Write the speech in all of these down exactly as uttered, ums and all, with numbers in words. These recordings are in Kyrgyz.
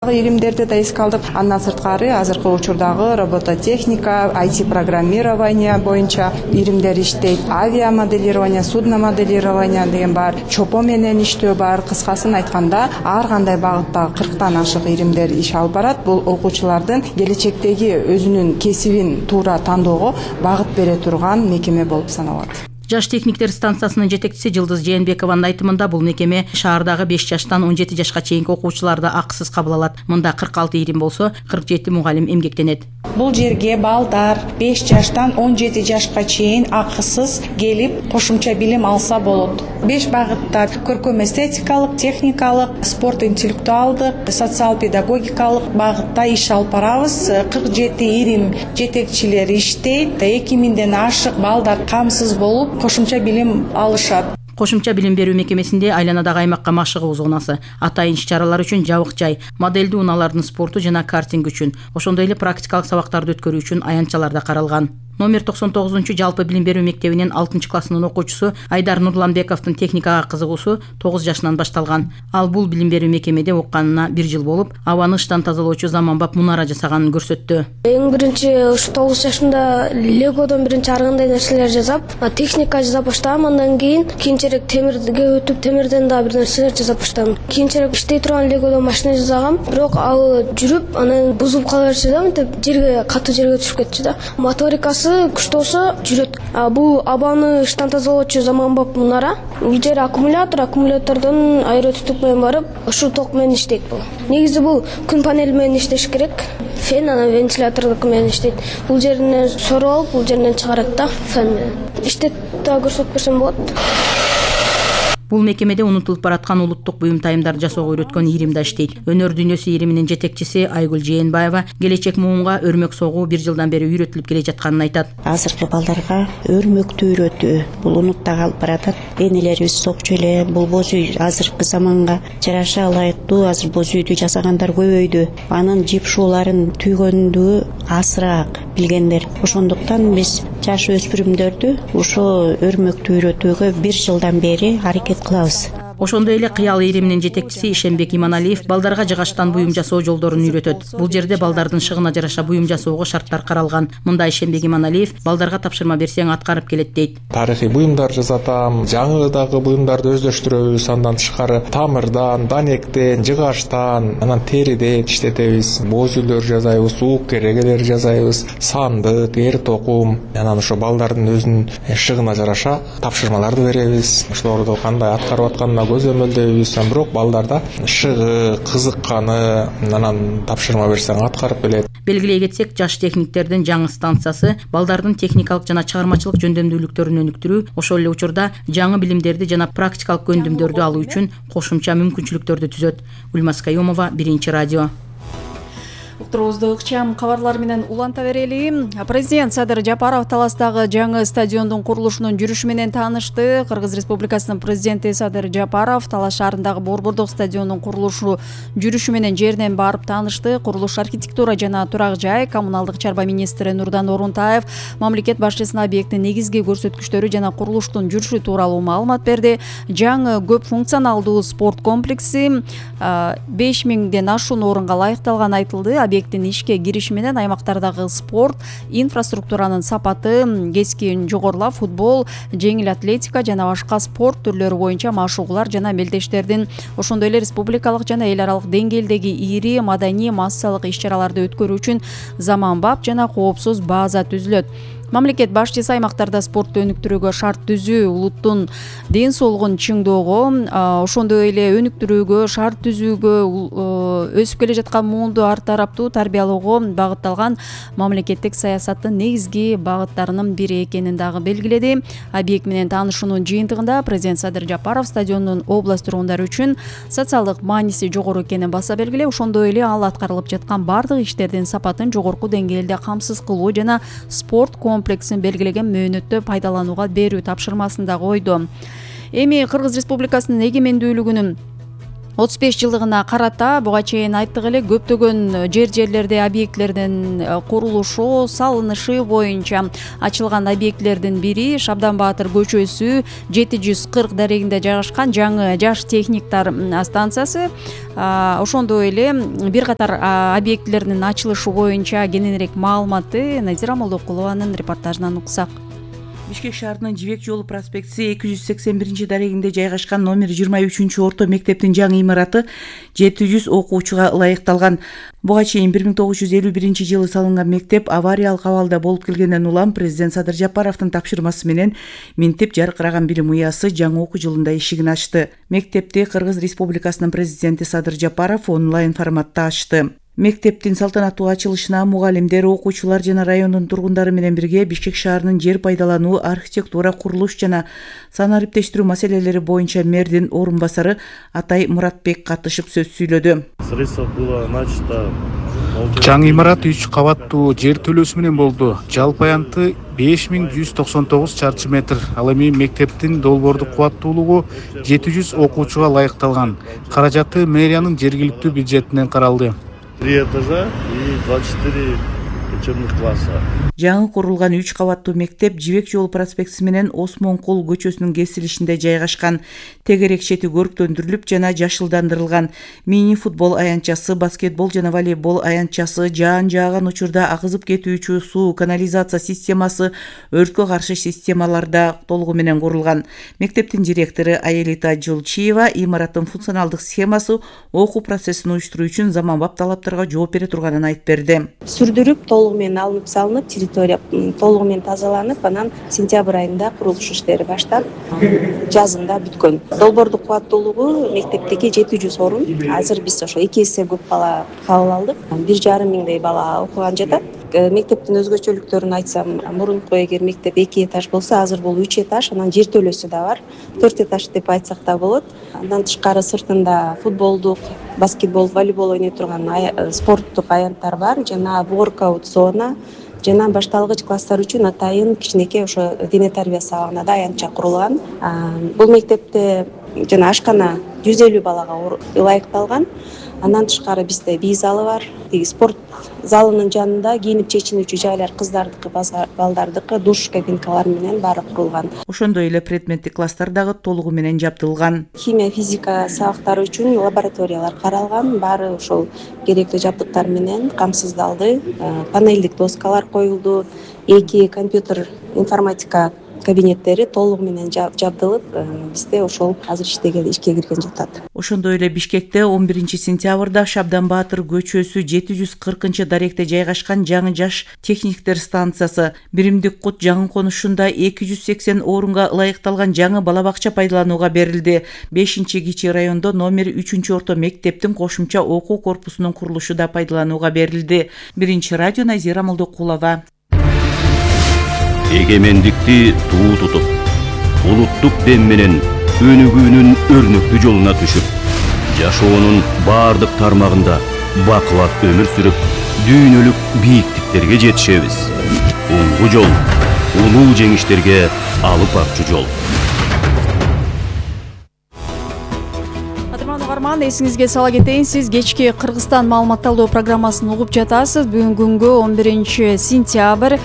Иримдерди да эске алдык. Андан сырткары азыркы учурдагы робототехника, ай ти программирование боюнча иримдер иштейт. Авиамоделирование, судномоделирование деген бар, чопо менен иштөө бар. Кыскасын айтканда, ар кандай багытта кырктан ашык иримдер иш алып барат. Бул окуучулардын келечектеги өзүнүн кесибин туура тандоого багыт бере турган мекеме болуп саналат. Жаш техниктер станциясынын жетекчиси Жылдыз Жээнбекованын айтымында бул мекеме шаардагы беш жаштан он жети жашка чейинки окуучуларды акысыз кабыл алат. Мында кырк алты ирим болсо, кырк жети мугалим эмгектенет. Бул жерге балдар беш жаштан он жети жашка чейин акысыз келип кошумча билим алса болот. беш багытта көркөм эстетикалык, техникалык, спорт интеллектуалдык, социал педагогикалык багытта иш алып барабыз. кырк жети ирим жетекчилери иштейт. эки миңден ашык балдар камсыз болуп кошумча билим алышат. Кошумча билим берүү мекемесинде айланадагы аймакка машыгуу зонасы, атайын иш-чаралар үчүн жабык жай, модельдүү унаалардын спорту жана картинг үчүн, ошондой эле практикалык сабактарды өткөрүү үчүн аянтчалар да каралган. Номер токсон тогузунчу жалпы билим берүү мектебинин алтынчы классынын окуучусу Айдар Нурланбековдун техникага кызыгуусу тогуз жашынан башталган. Ал бул билим берүү мекемеде окканына бир жыл болуп, абаны ыштан тазалоочу заманбап мунара жасаганын көрсөттү. Эң биринчи ушу тогуз жашымда легодон биринчи ар кандай нерселер жасап, техника жасап баштагам. Андан кийин кийинчерээк темирге өтүп, темирден да бир нерселер жасап баштадым. Кийинчерээк иштей турган легодон машина жасагам, бирок ал жүрүп, анан бузулуп кала берчү да, мынтип жерге, катуу жерге түшүп кетчү да. Моторикасы күчтүү болсо жүрөт. Бул абаны ыштан тазалоочу заманбап мунара. Бул жер аккумулятор, аккумулятордон аэротутук менен барып, ушул ток менен иштейт бул. Негизи бул күн панели менен иштеш керек. Фен, анан вентилятордук менен иштейт. Бул жеринен соруп алып, бул жеринен чыгарат да фен менен. Иштеп да көрсөтүп берсем болот. Бул мекемеде унутулуп бараткан улуттук буюмтайымдарды жасоого үйрөткөн ирим да иштейт. Өнөр дүйнөсү ириминин жетекчиси Айгүл Жээнбаева келечек муунга өрмөк согуу бир жылдан бери үйрөтүлүп келе жатканын айтат. Азыркы балдарга өрмөктү үйрөтүү бул унутта калып баратат. Энелерибиз сокчу эле бул боз үй азыркы заманга жараша ылайыктуу. Азыр боз үйдү жасагандар көбөйдү. Анын жипшууларын түйгөндү азыраак билгендер. Ошондуктан биз жаш өспүрүмдөрдү ушул өрмөктү үйрөтүүгө бир жылдан бери аракет кылабыз. Ошондой эле Кыял ириминин жетекчиси Ишенбек Иманалиев балдарга жыгачтан буюм жасоо жолдорун үйрөтөт. Бул жерде балдардын шыгына жараша буюм жасоого шарттар каралган. Мында Ишенбек Иманалиев балдарга тапшырма берсең аткарып келет дейт. Тарыхый буюмдар жасатам, жаңы дагы буюмдарды өздөштүрөбүз. Андан тышкары тамырдан, данектен, жыгачтан, анан териден иштетебиз. Боз үйлөр жасайбыз, уук керегелер жасайбыз, сандык, эр токум. Анан ошо балдардын өзүнүн шыгына жараша тапшырмаларды беребиз. Ошолорду кандай аткарып атканына көзөмөлдөйбүз. Бирок балдарда шыгы, кызыкканы, анан тапшырма берсең аткарып келет. Белгилей кетсек, жаш техниктердин жаңы станциясы балдардын техникалык жана чыгармачылык жөндөмдүүлүктөрүн өнүктүрүү, ошол эле учурда жаңы билимдерди жана практикалык көндүмдөрдү алуу үчүн кошумча мүмкүнчүлүктөрдү түзөт. Гүлмаз Каюмова, Биринчи радио. Уктуруубузду ыкчам кабарлар менен уланта берели. Президент Садыр Жапаров Таластагы жаңы стадиондун курулушунун жүрүшү менен таанышты. Кыргыз Республикасынын президенти Садыр Жапаров Талас шаарындагы Борбордук стадиондун курулушу жүрүшү менен жеринен барып таанышты. Курулуш архитектура жана турак жай, коммуналдык чарба министри Нурдан Орунтаев мамлекет башчысына объекттин негизги көрсөткүчтөрү жана курулуштун жүрүшү тууралуу маалымат берди. Жаңы көп функционалдуу спорт комплекси беш миңден ашуун орунга ылайыкталганы айтылды. Объекттин ишке кириши менен аймактардагы спорт инфраструктуранын сапаты кескин жогорулап, футбол, жеңил атлетика жана башка спорт түрлөрү боюнча машыгуулар жана мелдештердин, ошондой эле республикалык жана эл аралык деңгээлдеги ири маданий массалык иш-чараларды өткөрүү үчүн заманбап жана коопсуз база түзүлөт. Мамлекет башчысы аймактарда спортту өнүктүрүүгө шарт түзүү, улуттун ден соолугун чыңдоого, ошондой эле өнүктүрүүгө, шарт түзүүгө, өсүп келе жаткан муунду ар тараптуу тарбиялоого багытталган мамлекеттик саясаттын негизги багыттарынын бири экенин дагы белгиледи. Объект менен таанышуунун жыйынтыгында президент Садыр Жапаров стадиондун область тургундары үчүн социалдык мааниси жогору экенин баса белгилеп, ошондой эле ал аткарылып жаткан бардык иштердин сапатын жогорку деңгээлде камсыз кылуу жана спорт комплексин белгилеген мөөнөттө пайдаланууга берүү тапшырмасын да койду. Эми Кыргыз Республикасынын эгемендүүлүгүнүн отуз беш жылдыгына карата буга чейин айттык эле көптөгөн жер жерлерде объектлердин курулушу, салынышы боюнча ачылган объектлердин бири Шабдан Баатыр көчөсү жети жүз кырк дарегинде жайгашкан жаңы жаш техниктер станциясы. Ошондой эле бир катар объектлердин ачылышы боюнча кененирээк маалыматты Назира Молдокулованын репортажынан уксак. Бишкек шаарынын Жибек жолу проспектиси эки жүз сексен биринчи дарегинде жайгашкан номер жыйырма үчүнчү орто мектептин жаңы имараты жети жүз окуучуга ылайыкталган. Буга чейин бир миң тогуз жүз элүү биринчи жылы салынган мектеп авариялык абалда болуп келгенден улам президент Садыр Жапаровдун тапшырмасы менен Минтип жаркыраган билим уясы жаңы окуу жылында эшигин ачты. Мектепти Кыргыз Республикасынын президенти Садыр Жапаров онлайн форматта ачты. Мектептин салтанаттуу ачылышына мугалимдер, окуучулар жана райондун тургундары менен бирге Бишкек шаарынын жер пайдалануу, архитектура, курулуш жана санариптештирүү маселелери боюнча мэрдин орун басары Атай Муратбек катышып сөз сүйлөдү. Жаңы имарат үч кабаттуу жер төлөөсү менен болду. Жалпы аянты беш миң жүз токсон тогуз чарчы метр. Ал эми мектептин долбоордук кубаттуулугу жети жүз окуучуга ылайыкталган. Каражаты мэриянын жергиликтүү бюджетинен каралды. Три этажа и двадцать четыре учебных класса. Жаңы курулган үч кабаттуу мектеп Жибек жолу проспектиси менен Осмонкул көчөсүнүн кесилишинде жайгашкан. Тегерек чети көрктөндүрүлүп жана жашылдандырылган. Мини футбол аянтчасы, баскетбол жана волейбол аянтчасы, жаан жааган учурда агызып кетүүчү суу, канализация системасы, өрткө каршы системаларда толугу менен курулган. Мектептин директору Аелита Жолчиева имараттын функционалдык схемасы окуу процессин уюштуруу үчүн заманбап талаптарга жооп бере турганын айтып берди. Сүрдүрүп толугу менен алынып салынып, территория толугу менен тазаланып, анан сентябрь айында курулуш иштери баштап, жазында бүткөн. Долбоордук кубаттуулугу мектептеги жети жүз орун. Азыр биз ошо эки эсе көп бала кабыл алдык. бир жарым миңдей бала окуган жатат. Мектептин өзгөчөлүктөрүн айтсам, мурунку эгер мектеп эки этаж болсо, азыр бул үч этаж, анан жер төлөөсү да бар. төрт этаж деп айтсак да болот. Андан тышкары сыртында футболдук, баскетбол, волейбол ойной турган спорттук аянттар бар, жана воркаут зона, жана башталгыч класстар үчүн атайын кичинекей ошо дене тарбия сабагына да аянтча курулган. Бул мектепте жана ашкана жүз элүү балага ылайыкталган. Андан тышкары бизде бий залы бар. Спорт залынын жанында кийинип чечинүүчү жайлар кыздардыкы, балдардыкы, душ кабинкалар менен баары курулган. Ошондой эле предметтик класстар дагы толугу менен жабдылган. Химия, физика сабактары үчүн лабораториялар каралган. Баары ошол керектүү жабдыктар менен камсыздалды. Панелдик доскалар коюлду. Эки компьютер информатика кабинеттери толугу менен жабдылып, бизде ошол азыр иштеген, ишке кирген жатат. Ошондой эле Бишкекте он биринчи сентябрда Шабдан Баатыр көчөсү жети жүз кыркынчы даректе жайгашкан жаңы жаш техниктер станциясы, Биримдик Кут жаңы конушунда эки жүз сексен орунга ылайыкталган жаңы бала бакча пайдаланууга берилди. бешинчи кичи райондо номер үчүнчү орто мектептин кошумча окуу корпусунун курулушу да пайдаланууга берилди. Биринчи радио, Назира Молдокулова. Эгемендикти туу тутуп, улуттук дем менен өнүгүүнүн өрнөктүү жолуна түшүп, жашоонун баардык тармагында бакылап өмүр сүрүп, дүйнөлүк бийиктиктерге жетишебиз. Улуу жол, улуу жеңиштерге алып барчу жол. Угарман, эсиңизге сала кетейин, сиз кечки Кыргызстан маалыматталдоо программасын угуп жатасыз. Бүгүн күнгө он биринчи сентябрь,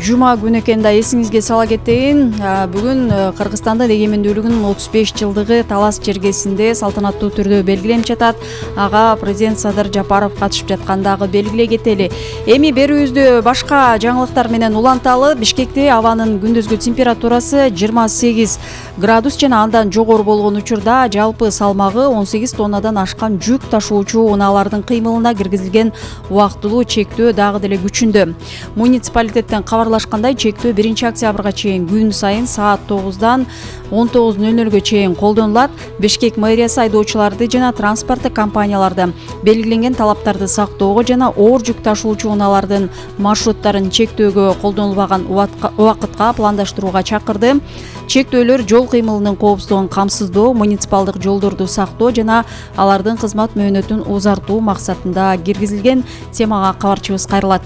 жума күнү экен да, эсиңизге сала кетейин. Бүгүн Кыргызстандын эгемендүүлүгүнүн отуз беш жылдыгы Талас чергесинде салтанаттуу түрдө белгиленип жатат. Ага президент Садыр Жапаров катышып жаткандагы белгилей кетели. Эми берүүбүздү башка жаңылыктар менен уланталы. Бишкекте абанын күндүзгү температурасы жыйырма сегиз градус жана андан жогору болгон учурда жалпы салмагы он сегиз тоннадан ашкан жүк ташуучу унаалардын кыймылына киргизилген убактылуу чектөө дагы деле күчүндө. Муниципалитеттен кабарлашкандай, чектөө биринчи октябрга чейин күн сайын саат тогуздан он тогуз нөл нөлгө чейин колдонулат. Бишкек мэриясы айдоочуларды жана транспорттук компанияларды белгиленген талаптарды сактоого жана оор жүк ташуучу унаалардын маршруттарын чектөөгө колдонулбаган убакытка пландаштырууга чакырды. Чектөөлөр жол кыймылынын коопсуздугун камсыздоо, муниципалдык жолдорду сактоо жана алардын кызмат мөөнөтүн узартуу максатында киргизилген. Темага кабарчыбыз кайрылат.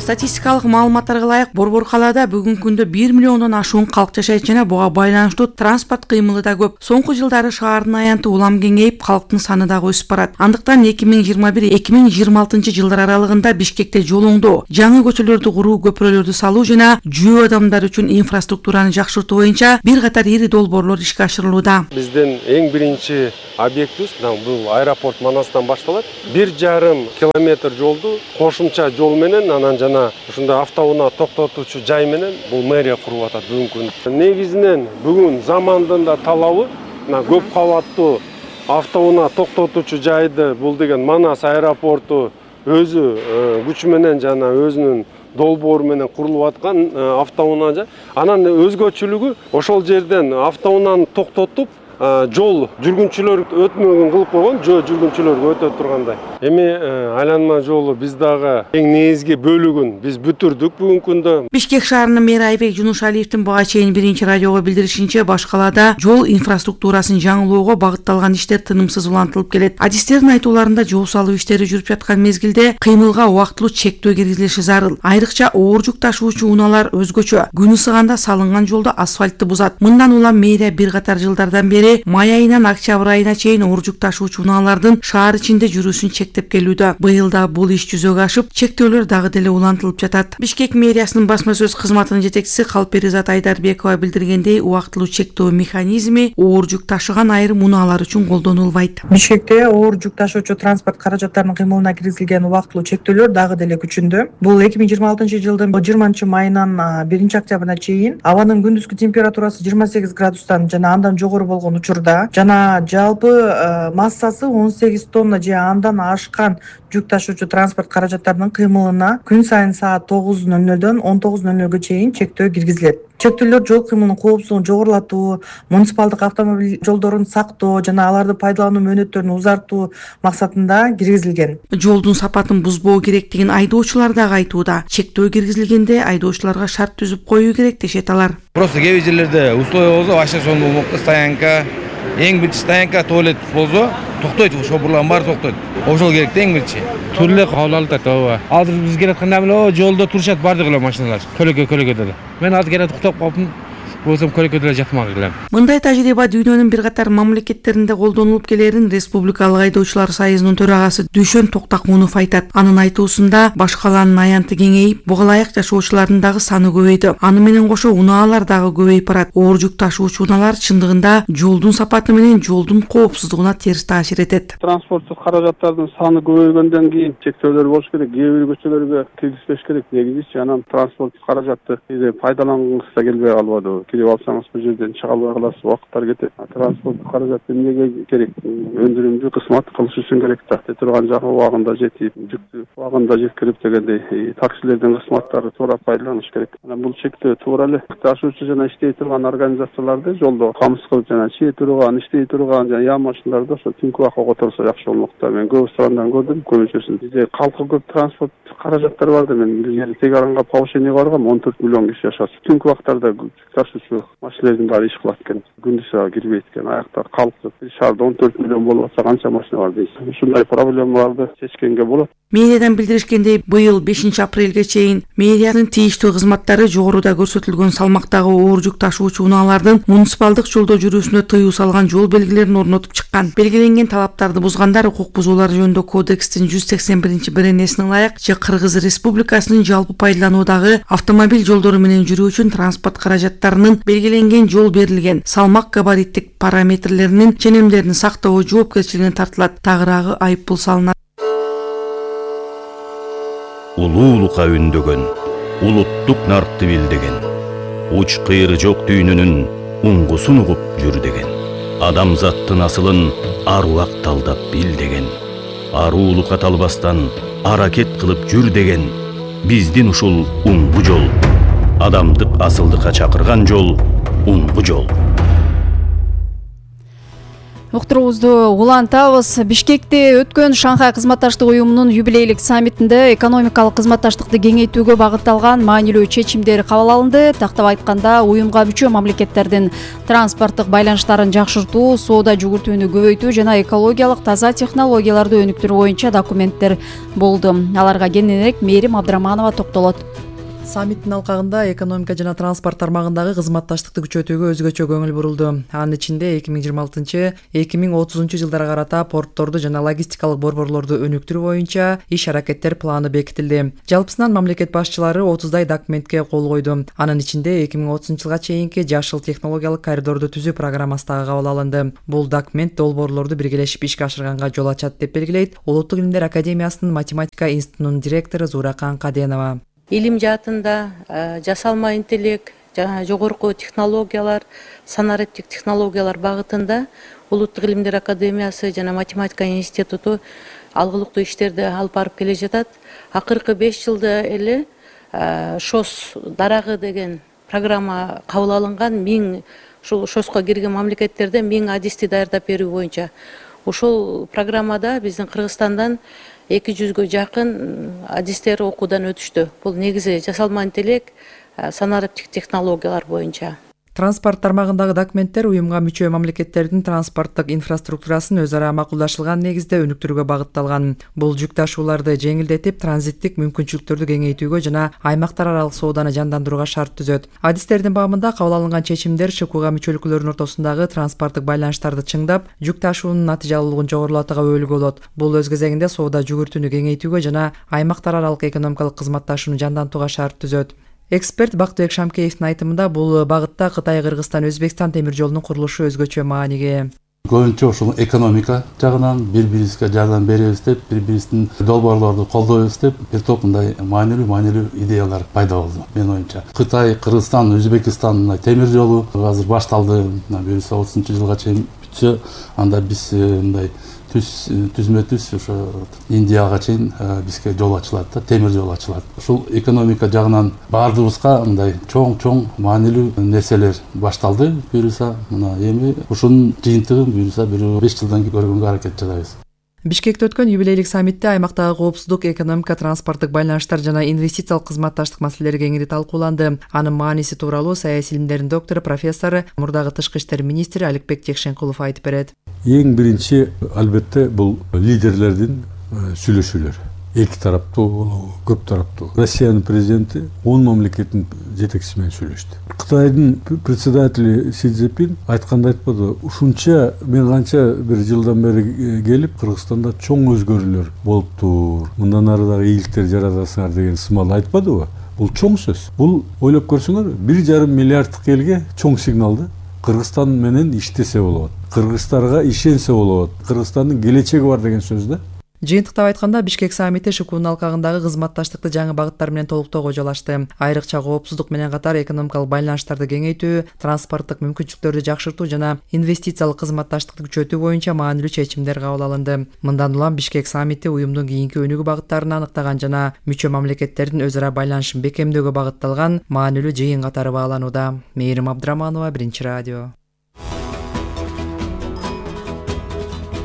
Статистикалык маалыматтарга ылайык Борбор калаада бүгүнкү күндө бир миллиондон ашуун калк жашайт жана буга байланыштуу транспорт кыймылы да көп. Соңку жылдары шаардын аянты улам кеңейип, калктын саны дагы өсүп барат. Андыктан эки миң жыйырма бир эки миң жыйырма алтынчы жылдар аралыгында Бишкекте жол оңдоо, жаңы көчөлөрдү куруу, көпүрөлөрдү салуу жана жөө адамдар үчүн инфраструктураны жакшыртуу боюнча бир катар ири долбоорлор ишке ашырылууда. Биздин эң биринчи объектибиз бул аэропорт Манастан башталат. бир жарым километр жолду кошумча жол менен анан жана ушундай автоунаа токтотуучу жай менен бул мэрия куруп атат бүгүнкү күндө. Негизинен бүгүн замандын да талабы көп кабаттуу автоунаа токтотуучу жайды бул деген Манас аэропорту өзү күчү менен жана өзүнүн долбоору менен курулуп аткан автоунаа жай. Анан өзгөчөлүгү ошол жерден автоунааны токтотуп жол жүргүнчүлөр өтмөгөн кылып койгон, жөө жүргүнчүлөргө өтө тургандай. Эми айланма жолу биз дагы эң негизги бөлүгүн биз бүтүрдүк бүгүнкү күндө. Бишкек шаарынын мэри Айбек Жунушалиевдин буга чейин биринчи радиого билдиришинче, баш калаада жол инфраструктурасын жаңылоого багытталган иштер тынымсыз улантылып келет. Адистердин айтууларында жол салуу иштери жүрүп жаткан мезгилде кыймылга убактылуу чектөө киргизилиши зарыл. Айрыкча оор жүк ташуучу унаалар өзгөчө. Күн ысыганда салынган жолдо асфальтты бузат. Мындан улам мэрия бир катар жылдардан бери май айынан октябрь айына чейин оор жүк ташуучу унаалардын шаар ичинде жүрүүсүн чектеп келүүдө. Быйыл да бул иш жүзөгө ашып, чектөөлөр дагы деле улантылып жатат. Бишкек мэриясынын басма сөз кызматынын жетекчиси Калперизат Айдарбекова билдиргендей, убактылуу чектөө механизми оор жүк ташыган айрым унаалар үчүн колдонулбайт. Бишкекте оор жүк ташуучу транспорт каражаттарынын кыймылына киргизилген убактылуу чектөөлөр дагы деле күчүндө. Бул эки миң жыйырма алтынчы жылдын жыйырманчы майынан биринчи октябрына чейин абанын күндүзгү температурасы жыйырма сегиз градустан жана андан жогору болгон учурда жана жалпы массасы он сегиз тонна же андан ашкан жүк ташуучу транспорт каражаттарынын кыймылына күн сайын саат тогуз ноль нолдон он тогуз ноль нолго чейин чектөө киргизилет. Чектөөлөр жол кыймылынын коопсуздугун жогорулатуу, муниципалдык автомобиль жолдорун сактоо жана аларды пайдалануу мөөнөттөрүн узартуу максатында киргизилген. Жолдун сапатын бузбоо керектигин айдоочулар дагы айтууда. Чектөө киргизилгенде айдоочуларга шарт түзүп коюу керек дешет алар. Просто кээ бир жерлерде условия болсо, башка сонун болмокта стоянка, эң биринчи стоянка туалет болсо, токтойт, шопурлардын баары токтойт. Ошол керек да эң биринчи. Түрлүү кабыл алып атат, ооба. Азыр биз келатканда эле жолдо турушат бардык эле машиналар. Көлөкө көлөкөдө эле. Мен азыр келе токтоп калдым. Болсом көлөкөдө эле жатмак элем. Мындай тажрыйба дүйнөнүн бир катар мамлекеттеринде колдонулуп келерин Республикалык айдоочулар союзунун төрагасы Дүйшөн Токтакунов айтат. Анын айтуусунда баш каланын аянты кеңейип, буга ылайык жашоочулардын дагы саны көбөйдү. Аны менен кошо унаалар дагы көбөйүп барат. Оор жүк ташуучу унаалар чындыгында жолдун сапаты менен жолдун коопсуздугуна терс таасир этет. Транспорттук каражаттардын саны көбөйгөндөн кийин чектөөлөр болуш керек. Кээ бир көчөлөргө киргизбеш керек. Негизичи анан транспорттук каражатты пайдалангысы да келбей калбады. Кирип алсаңыз бул жерден чыга албай каласыз, убакыттар кетет. Транспорттук каражат эмнеге керек? Өндүрүмдү кызмат кылыш үчүн керек да. Турган жагы убагында жетип, жүктү убагында жеткирип дегендей таксилердин кызматтары туура пайдаланыш керек. Анан бул чектөө туура эле ташуучу жана иштей турган организацияларды жолдо камсыз кылып жана чээ турган, иштей турган жана яа машиналарды ошо түнкү убакка которсо жакшы болмок да. Мен көп странадан көрдүм, көбүнчөсүн. Бизде калкы көп транспорт каражаттары бар да. Мен бир Тегаранга повышение баргам, он төрт миллион киши жашат. Түнкү убактарда ташуучу машиналардын баары иш кылат экен. Күндүз кирбейт экен. Аякта калкты. Шаарда он төрт миллион болуп атса канча машина бар дейсиз. Ушундай проблемаларды чечкенге болот. Мэриядан билдиришкендей, быйыл бешинчи апрелге чейин мэриянын тийиштүү кызматтары жогоруда көрсөтүлгөн салмактагы оор жүк ташуучу унаалардын муниципалдык жолдо жүрүүсүнө тыюу салган жол белгилерин орнотуп чыккан. Белгиленген талаптарды бузгандар укук бузуулар жөнүндө кодекстин жүз сексен биринчи беренесине ылайык же Кыргыз Республикасынын жалпы пайдалануудагы автомобиль жолдору менен жүрүү үчүн транспорт каражаттарынын белгиленген жол берилген салмак габариттик параметрлеринин ченемдерин сактоо жоопкерчилигине тартылат. Тагыраагы айып пул салынат. Улуулукка үндөгөн, улуттук наркты билдеген, уч кыйры жок дүйнөнүн уңгусун угуп жүр деген. Адамзаттын асылын аруак талдап бил деген. Аруулукка талбастан аракет кылып жүр деген. Биздин ушул уңгу жол, адамдык асылдыкка чакырган жол, уңгу жол. Уктуруубузду улантабыз. Бишкекте өткөн Шанхай кызматташтык уюмунун юбилейлик саммитинде экономикалык кызматташтыкты кеңейтүүгө багытталган маанилүү чечимдер кабыл алынды. Тактап айтканда, уюмга мүчө мамлекеттердин транспорттук байланыштарын жакшыртуу, соода жүгүртүүнү көбөйтүү жана экологиялык таза технологияларды өнүктүрүү боюнча документтер болду. Аларга кененирээк Мээрим Абдраманова токтолот. Саммиттин алкагында экономика жана транспорт тармагындагы кызматташтыкты күчөтүүгө өзгөчө көңүл бурулду. Анын ичинде эки миң жыйырма алтынчы — эки миң отузунчу жылдарга карата портторду жана логистикалык борборлорду өнүктүрүү боюнча иш-аракеттер планы бекитилди. Жалпысынан мамлекет башчылары отуздай документке кол койду. Анын ичинде эки миң отузунчу жылга чейинки жашыл технологиялык коридорду түзүү программасы дагы кабыл алынды. Бул документ долбоорлорду биргелешип ишке ашырганга жол ачат деп белгилейт Улуттук илимдер академиясынын математика институтунун директору Зууракан Каденова. Илим жаатында жасалма интеллект, жогорку технологиялар, санариптик технологиялар багытында Улуттук илимдер академиясы жана математика институту алгылыктуу иштерди алып барып келе жатат. Акыркы беш жылда эле ШОС дарагы деген программа кабыл алынган. миң ушул ШОСко кирген мамлекеттерде миң адисти даярдап берүү боюнча. Ушул программада биздин Кыргызстандан эки жүзгө жакын адистер окуудан өтүштү. Бул негизи жасалма интеллект, санариптик технологиялар боюнча. Транспорт тармагындагы документтер уюмга мүчө мамлекеттердин транспорттук инфраструктурасын өз ара макулдашылган негизде өнүктүрүүгө багытталган. Бул жүк ташууларды жеңилдетип, транзиттик мүмкүнчүлүктөрдү кеңейтүүгө жана аймактар аралык сооданы жандандырууга шарт түзөт. Адистердин баамында кабыл алынган чечимдер ШКУга мүчөлүклөрдүн ортосундагы транспорттук байланыштарды чыңдап, жүк ташуунун натыйжалуулугун жогорулатууга өбөлгө болот. Бул өз кезегинде соода жүгүртүүнү кеңейтүүгө жана аймактар аралык экономикалык кызматташууну жандантууга шарт түзөт. Эксперт Бактыбек Шамкеевдин айтымында бул багытта Кытай, Кыргызстан, Өзбекстан темир жолунун курулушу өзгөчө мааниге. Көбүнчө ушул экономика жагынан бири-бирибизге жардам беребиз деп, бири-бирибиздин долбоорлорду колдойбуз деп, бир топ мындай маанилүү маанилүү идеялар пайда болду менин оюмча. Кытай, Кыргызстан, Өзбекстан темир жолу азыр башталды. Буюрса отузунчу жылга чейин бүтсө, анда биз мындай түз түзмө түз ошо Индияга чейин бизге жол ачылат да, темир жол ачылат. Ушул экономика жагынан баардыгыбызга мындай чоң-чоң маанилүү нерселер башталды. Буюрса мына эми ушунун жыйынтыгын буюрса бир беш жылдан кийин көргөнгө аракет жасайбыз. Бишкекте өткөн юбилейлик саммитте аймактагы коопсуздук, экономика, транспорттук байланыштар жана инвестициялык кызматташтык маселелери кеңири талкууланды. Анын мааниси тууралуу саясий илимдердин доктору, профессору, мурдагы тышкы иштер министри Аликбек Жекшенкулов айтып берет. Эң биринчи албетте бул лидерлердин сүйлөшүүлөрү. Эки тараптуу болобу, көп тараптуу. Россиянын президенти он мамлекеттин жетекчиси менен сүйлөштү. Кытайдын председатели Си Цзиньпин айтканда айтпады, ушунча мен канча бир жылдан бери келип Кыргызстанда чоң өзгөрүүлөр болуптур. Мындан ары дагы ийгиликтер жаратасыңар деген сымал айтпадыбы? Бул чоң сөз. Бул ойлоп көрсөңөр, бир жарым миллиарддык элге чоң сигнал да. Кыргызстан менен иштесе болот. Кыргыздарга ишенсе болот. Кыргызстандын келечеги бар деген сөз да. Жыйынтыктап айтканда, Бишкек саммити ШКУнун алкагындагы кызматташтыкты жаңы багыттар менен толуктоого жол ачты. Айрыкча коопсуздук менен катар экономикалык байланыштарды кеңейтүү, транспорттук мүмкүнчүлүктөрдү жакшыртуу жана инвестициялык кызматташтыкты күчөтүү боюнча маанилүү чечимдер кабыл алынды. Мындан улам Бишкек саммити уюмдун кийинки өнүгүү багыттарын аныктаган жана мүчө мамлекеттердин өз ара байланышын бекемдөөгө багытталган маанилүү жыйын катары бааланууда. Мээрим Абдраманова, Биринчи радио.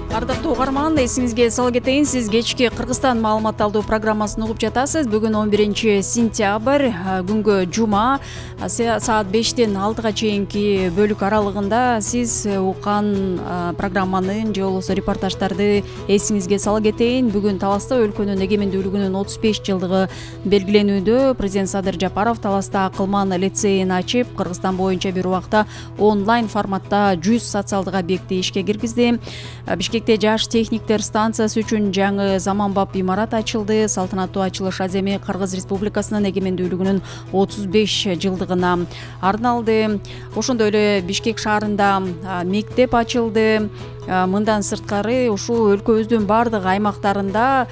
Ардактуу угарман, эсиңизге сала кетейин, сиз кечки Кыргызстан маалымат алуу программасын угуп жатасыз. Бүгүн он биринчи сентябрь, күнгө жума, саат бештен алтыга чейинки бөлүк аралыгында сиз уккан программанын же болбосо репортаждарды эсиңизге сала кетейин. Бүгүн Таласта өлкөнүн эгемендүүлүгүнүн отуз беш жылдыгы белгиленүүдө. Президент Садыр Жапаров Таласта акылман лицейин ачып, Кыргызстан боюнча бир убакта онлайн форматта жүз социалдык объекти ишке киргизди. Бишкекте жаш техниктер станциясы үчүн жаңы заманбап имарат ачылды. Салтанаттуу ачылыш аземи Кыргыз Республикасынын эгемендүүлүгүнүн отуз беш жылдыгына арналды. Ошондой эле Бишкек шаарында мектеп ачылды. Мындан сырткары ушул өлкөбүздүн бардык аймактарында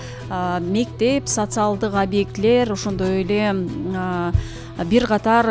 мектеп, социалдык объектилер, ошондой эле бир катар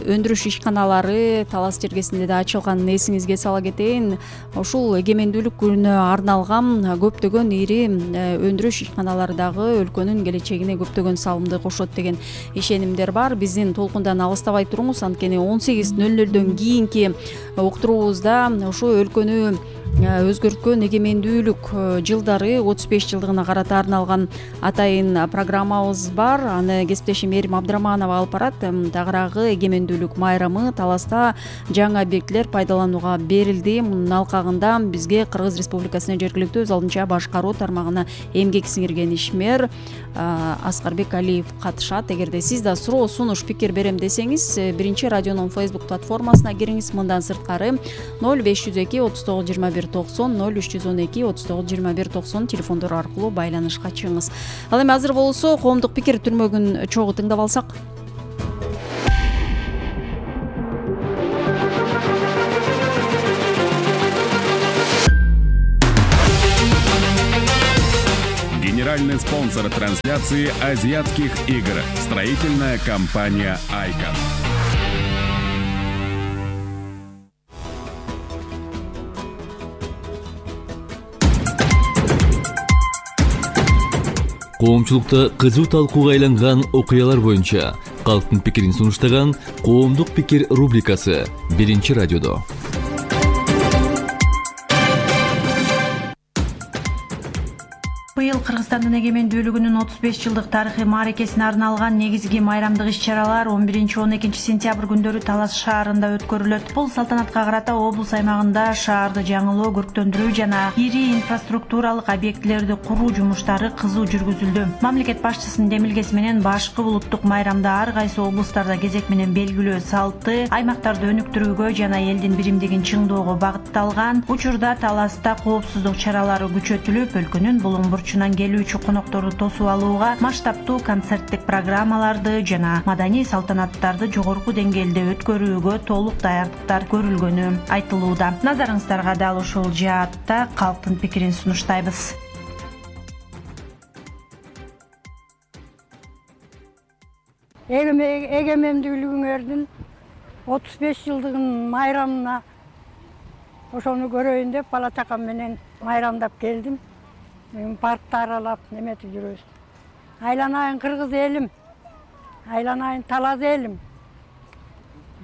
өндүрүш ишканалары Талас жергесинде да ачылганын эсиңизге сала кетейин. Ушул эгемендүүлүк күнүнө арналган көптөгөн ири өндүрүш ишканалары дагы өлкөнүн келечегине көптөгөн салымды кошот деген ишенимдер бар. Биздин толкундан алыстабай туруңуз, анткени он сегиз нөл нөлдөн кийинки уктуруубузда ушу өлкөнү өзгөрткөн эгемендүүлүк жылдары отуз беш жылдыгына карата арналган атайын программабыз бар. Аны кесиптешим Эрим Абдыраманова алып барат. Тагыраагы эгемендүүлүк майрамы Таласта жаңы объектилер пайдаланууга берилди. Мунун алкагында бизге Кыргыз Республикасынын жергиликтүү өз алдынча башкаруу тармагына эмгек сиңирген ишмер Аскарбек Алиев катышат. Эгерде сиз да суроо, сунуш, пикир берем десеңиз, биринчи радионун Facebook платформасына кириңиз. Мындан сырткары ноль беш жүз эки отуз тогуз жыйырма бир токсон, ноль үч жүз он эки отуз тогуз жыйырма бир токсон телефондору аркылуу байланышка чыгыңыз. Ал эми азыр болсо коомдук пикир түрмөгүн чогуу тыңдап алсак. Генеральный спонсор трансляции азиатских игр. Строительная компания «Айкон». Коомчулукта кызуу талкууга айланган окуялар боюнча калктын пикирин сунуштаган «Коомдук пикир» рубрикасы биринчи радиодо. Быйыл Кыргызстандын эгемендүүлүгүнүн отуз беш жылдык тарыхый мааракесине арналган негизги майрамдык иш-чаралар он биринчи он экинчи сентябрь күндөрү Талас шаарында өткөрүлөт. Бул салтанатка карата облус аймагында шаарды жаңылоо, көрктөндүрүү жана ири инфраструктуралык объектилерди куруу жумуштары кызуу жүргүзүлдү. Мамлекет башчысынын демилгеси менен башкы улуттук майрамда ар кайсы облустарда кезек менен белгилөө салты, аймактарды өнүктүрүүгө жана элдин биримдигин чыңдоого багытталган. Учурда Таласта коопсуздук чаралары күчөтүлүп, өлкөнүн булуң бурчунан келүүчү конокторду тосуп алууга масштабтуу концерттик программаларды жана маданий салтанаттарды жогорку деңгээлде өткөрүүгө толук даярдыктар көрүлгөнү айтылууда. Назарыңыздарга дал ушул жаатта калктын пикирин сунуштайбыз. Эгемендүүлүгүңөрдүн отуз беш жылдыгынын майрамына ошону көрөйүн деп бала чакам менен майрамдап келдим. Паркты аралап неметип жүрөбүз. Айланайын кыргыз элим, айланайын талаз элим.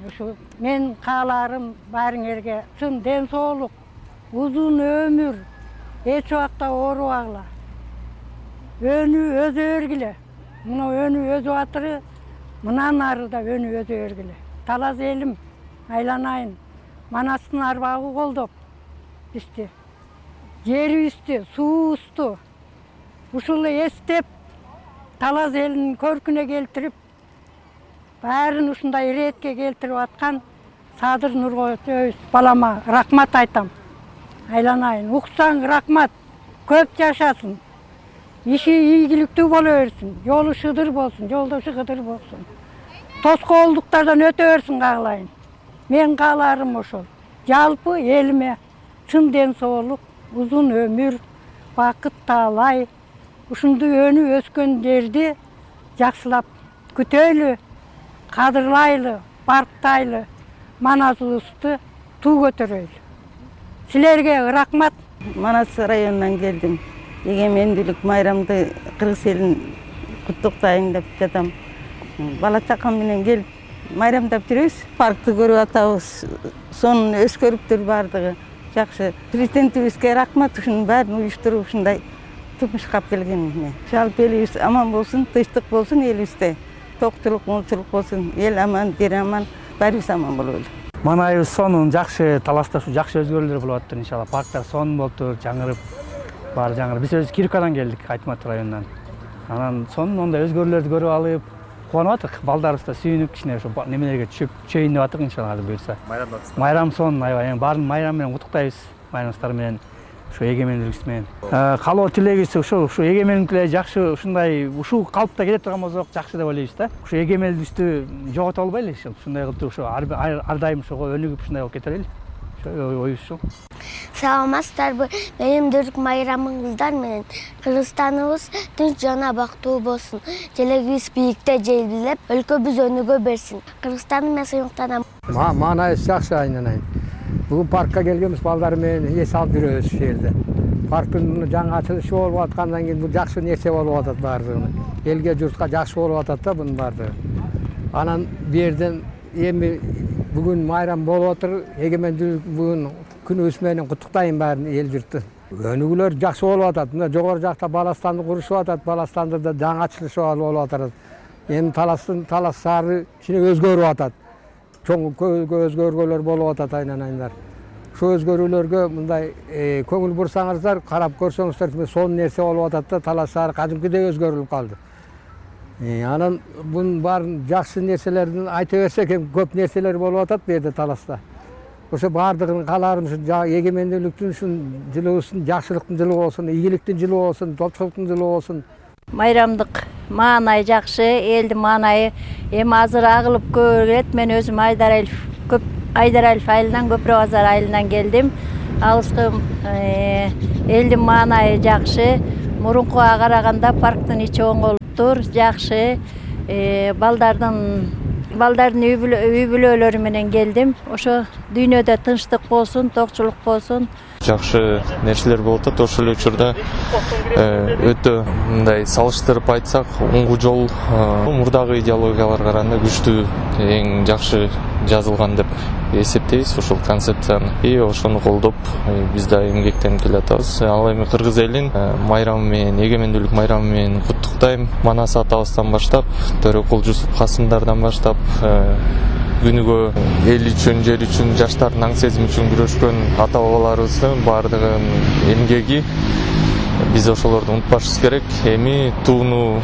Ушу мен кааларым баарыңерге чын ден соолук, узун өмүр, эч убакта оорубагыла. Өнүү өзө бергиле. Мына өнүү өзүп атыры, мындан ары да өнүү өзө бергиле. Талаз элим, айланайын. Манастын арбагы колдоп бизди. Жерибизди, суубузду ушул эстеп, Талаз элинин көркүнө келтирип, баарын ушундай иретке келтирип аткан Садыр Нургожоевич балама рахмат айтам. Айланайын, уксаң рахмат, көп жашасын. Иши ийгиликтүү боло берсин, жолу шыдыр болсун, жолдошу кыдыр болсун. Тоскоолдуктардан өтө берсин каалайын. Мен кааларым ошол. Жалпы элиме чын ден соолук, узун өмүр, бакыт таалай, ушундай өнүп өскөндөрдү жакшылап күтөлү, кадырлайлы, барктайлы, маназыбызды туу көтөрөйлү. Силерге рахмат. Манас районунан келдим. Эгемендүүлүк майрамды кыргыз элин куттуктайын деп жатам. Бала чакам менен келип майрамдап жүрөбүз. Паркты көрүп атабыз. Сонун өскөрүптүр бардыгы. Жакшы. Президентибизге рахмат, ушунун баарын уюштуруп ушундай тумушкап келгенине. Жалпы элибиз аман болсун, тынчтык болсун элибизде. Токчулук, молчулук болсун. Эл аман, жер аман, баарыбыз аман бололу. Манайыбыз сонун жакшы, Таласта ушу жакшы өзгөрүүлөр болуп атты иншалла. Парктар сонун болуптур, жаңырып, баары жаңырып. Биз өзүбүз Киркадан келдик, Айтмат районунан. Анан сонун ондай өзгөрүүлөрдү көрүп алып, кубанып атык. Балдарыбыз да сүйүнүп кичине ошо немелерге түшүп, чөйүн деп атык иншалла азыр буюрса. Майрамдасыздар. Майрам сонун, аябай. Баарын майрам менен куттуктайбыз. Майрамдастар менен, ушу эгемендүүлүгүбүз менен. Калоо тилегибиз ушу, ушу эгемендүүлүк эле жакшы, ушундай ушул калпта келе турган болсок жакшы деп ойлойбуз да. Ушу эгемендүүлүктү жогото албайлы ушул. Ушундай кылып ушу ар дайым ошого өнүгүп ушундай болуп кетелели. Оюбуз ушул. Саламатсыздарбы? Менин дүрк майрамыңыздар менен Кыргызстаныбыз тынч жана бактуу болсун. Желегибиз бийикте желбилеп, өлкөбүз өнүгө берсин. Кыргызстанды мен сыймыктанам. Маанайыбыз жакшы айнанайын. Бүгүн паркка келгенбиз, балдар менен эс алып жүрөбүз ушул жерде. Парктын жаңы ачылышы болуп аткандан кийин бул жакшы нерсе болуп атат баардыгы. Элге, журтка жакшы болуп атат да бунун баардыгы. Анан бу жерден эми бүгүн майрам болуп атыр. Эгемендүүлүк бүгүн күнүбүз менен куттуктайм баарын эл журтту. Өнүгүүлөр жакшы болуп атат. Мына жогору жакта Баластанды курушуп атат. Баластанды да жаңы ачылышы болуп атат. Эми Таластын Талас шаары кичине өзгөрүп атат. Чоң өзгөргөлөр болуп атат айнан-айндар. Ошо өзгөрүүлөргө мындай көңүл бурсаңыздар, карап көрсөңүздөр, сонун нерсе болуп атат да, Талас шаары кадимкидей өзгөрүлүп калды. Анан бунун баарын жакшы нерселерин айта берсек, көп нерселер болуп атат бу жерде Таласта. Ошо баардыгын кааларым ушу эгемендүүлүктүн ушун жылыбыздын жакшылыктын жылы болсун, ийгиликтин жылы болсун, топчулуктун жылы болсун. Майрамдык маанайы жакшы, элдин маанайы эми азыр агылып көрөт. Мен өзүм Айдаралиев көп Айдаралиев айылынан, Көпүрө базар айылынан келдим. Алыскы элдин маанайы жакшы. Мурункуга караганда парктын ичи оңголуптур, жакшы. Балдардын балдардын үй бүлөлөрү менен келдим. Ошо дүйнөдө тынчтык болсун, токчулук болсун. Жакшы нерселер болуп атат. Ошол эле учурда өтө мындай салыштырып айтсак, оңгу жол мурдагы идеологияларга караганда күчтүү, эң жакшы жазылган деп эсептейбиз ошол концепцияны. И ошону колдоп биз да эмгектенип келатабыз. Ал эми кыргыз элин майрамы менен, эгемендүүлүк майрамы менен куттуктайм. Манас атабыздан баштап, Төрөкул Жусуп Касымдардан баштап күнүгө эл үчүн, жер үчүн, жаштардын аң сезими үчүн күрөшкөн ата бабаларыбыздын баардыгынын эмгеги, биз ошолорду унутпашыбыз керек. Эми тууну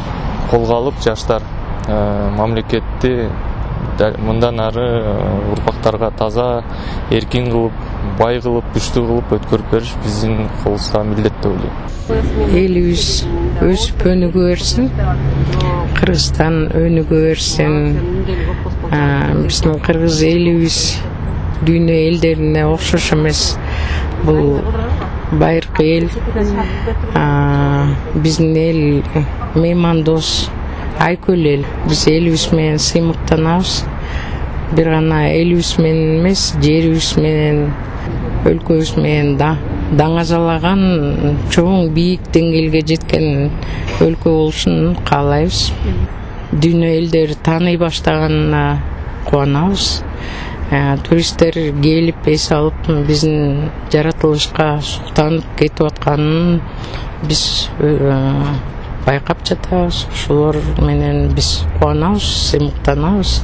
колго алып жаштар мамлекетти мындан ары урпактарга таза, эркин кылып, бай кылып, күчтүү кылып өткөрүп бериш биздин колубузда милдет деп ойлойм. Элибиз өсүп өнүгө берсин, Кыргызстан өнүгө берсин. Биздин кыргыз элибиз дүйнө элдерине окшош эмес. Бул байыркы эл. Биздин эл меймандос, айкөл эл. Биз элибиз менен сыймыктанабыз. Бир гана элибиз менен эмес, жерибиз менен, өлкөбүз менен да даңазалаган, чоң бийик деңгээлге жеткен өлкө болушун каалайбыз. Дүйнө элдери тааный баштаганына кубанабыз. Туристтер келип эс алып биздин жаратылышка суктанып кетип атканын биз байкап жатабыз. Ошолор менен биз кубанабыз, сыймыктанабыз.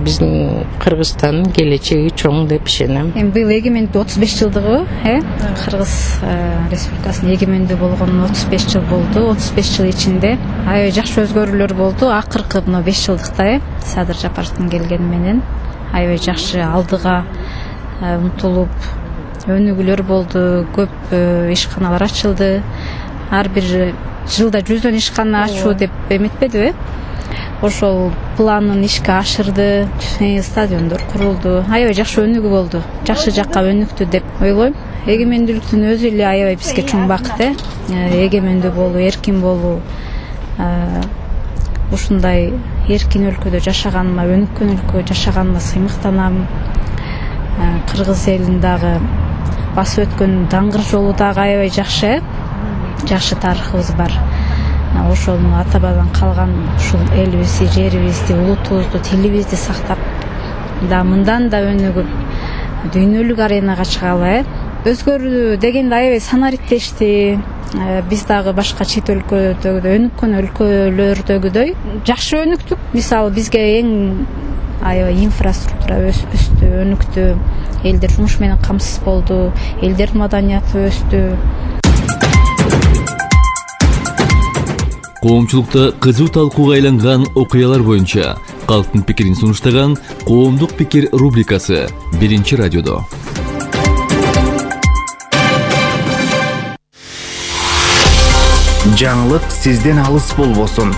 Биздин Кыргызстандын келечеги чоң деп ишенем. Эми быйыл эгемендүү отуз беш жылдыгы, э? Кыргыз Республикасынын эгемендүү болгонуна отуз беш жыл болду. отуз беш жыл ичинде аябай жакшы өзгөрүүлөр болду. Акыркы мына беш жылдыкта, э? Садыр Жапаровдун келгени менен аябай жакшы алдыга умтулуп өнүгүүлөр болду. Көп ишканалар ачылды. Ар бир жылда жүздөн ишкана ачуу деп эметпедиби? Ошол планын ишке ашырды, стадиондор курулду. Аябай жакшы өнүгүү болду. Жакшы жакка өнүктү деп ойлойм. Эгемендүүлүктүн өзү эле аябай бизге чоң бакыт, э? Эгемендүү болуу, эркин болуу. Ушундай эркин өлкөдө жашаганыма, өнүккөн өлкөдө жашаганыма сыймыктанам. Кыргыз элин дагы басып өткөн даңгыр жолу дагы аябай жакшы, э? Жакшы тарыхыбыз бар. Ошону ата бабадан калган ушул элибизди, жерибизди, улутубузду, тилибизди сактап, да мындан да өнүгүп, дүйнөлүк аренага чыгалы, э? Өзгөрүү дегенде аябай санариптешти. Биз дагы башка чет өлкөдөгүдөй, өнүккөн өлкөлөрдөгүдөй жакшы өнүктүк. Мисалы бизге эң аябай инфраструктура өстү, өнүктү. Элдер жумуш менен камсыз болду, элдердин маданияты өстү. Коомчулукта кызуу талкууга айланган окуялар боюнча калктын пикирин сунуштаган Коомдук пикир рубрикасы биринчи радиодо. Жаңылык сизден алыс болбосун.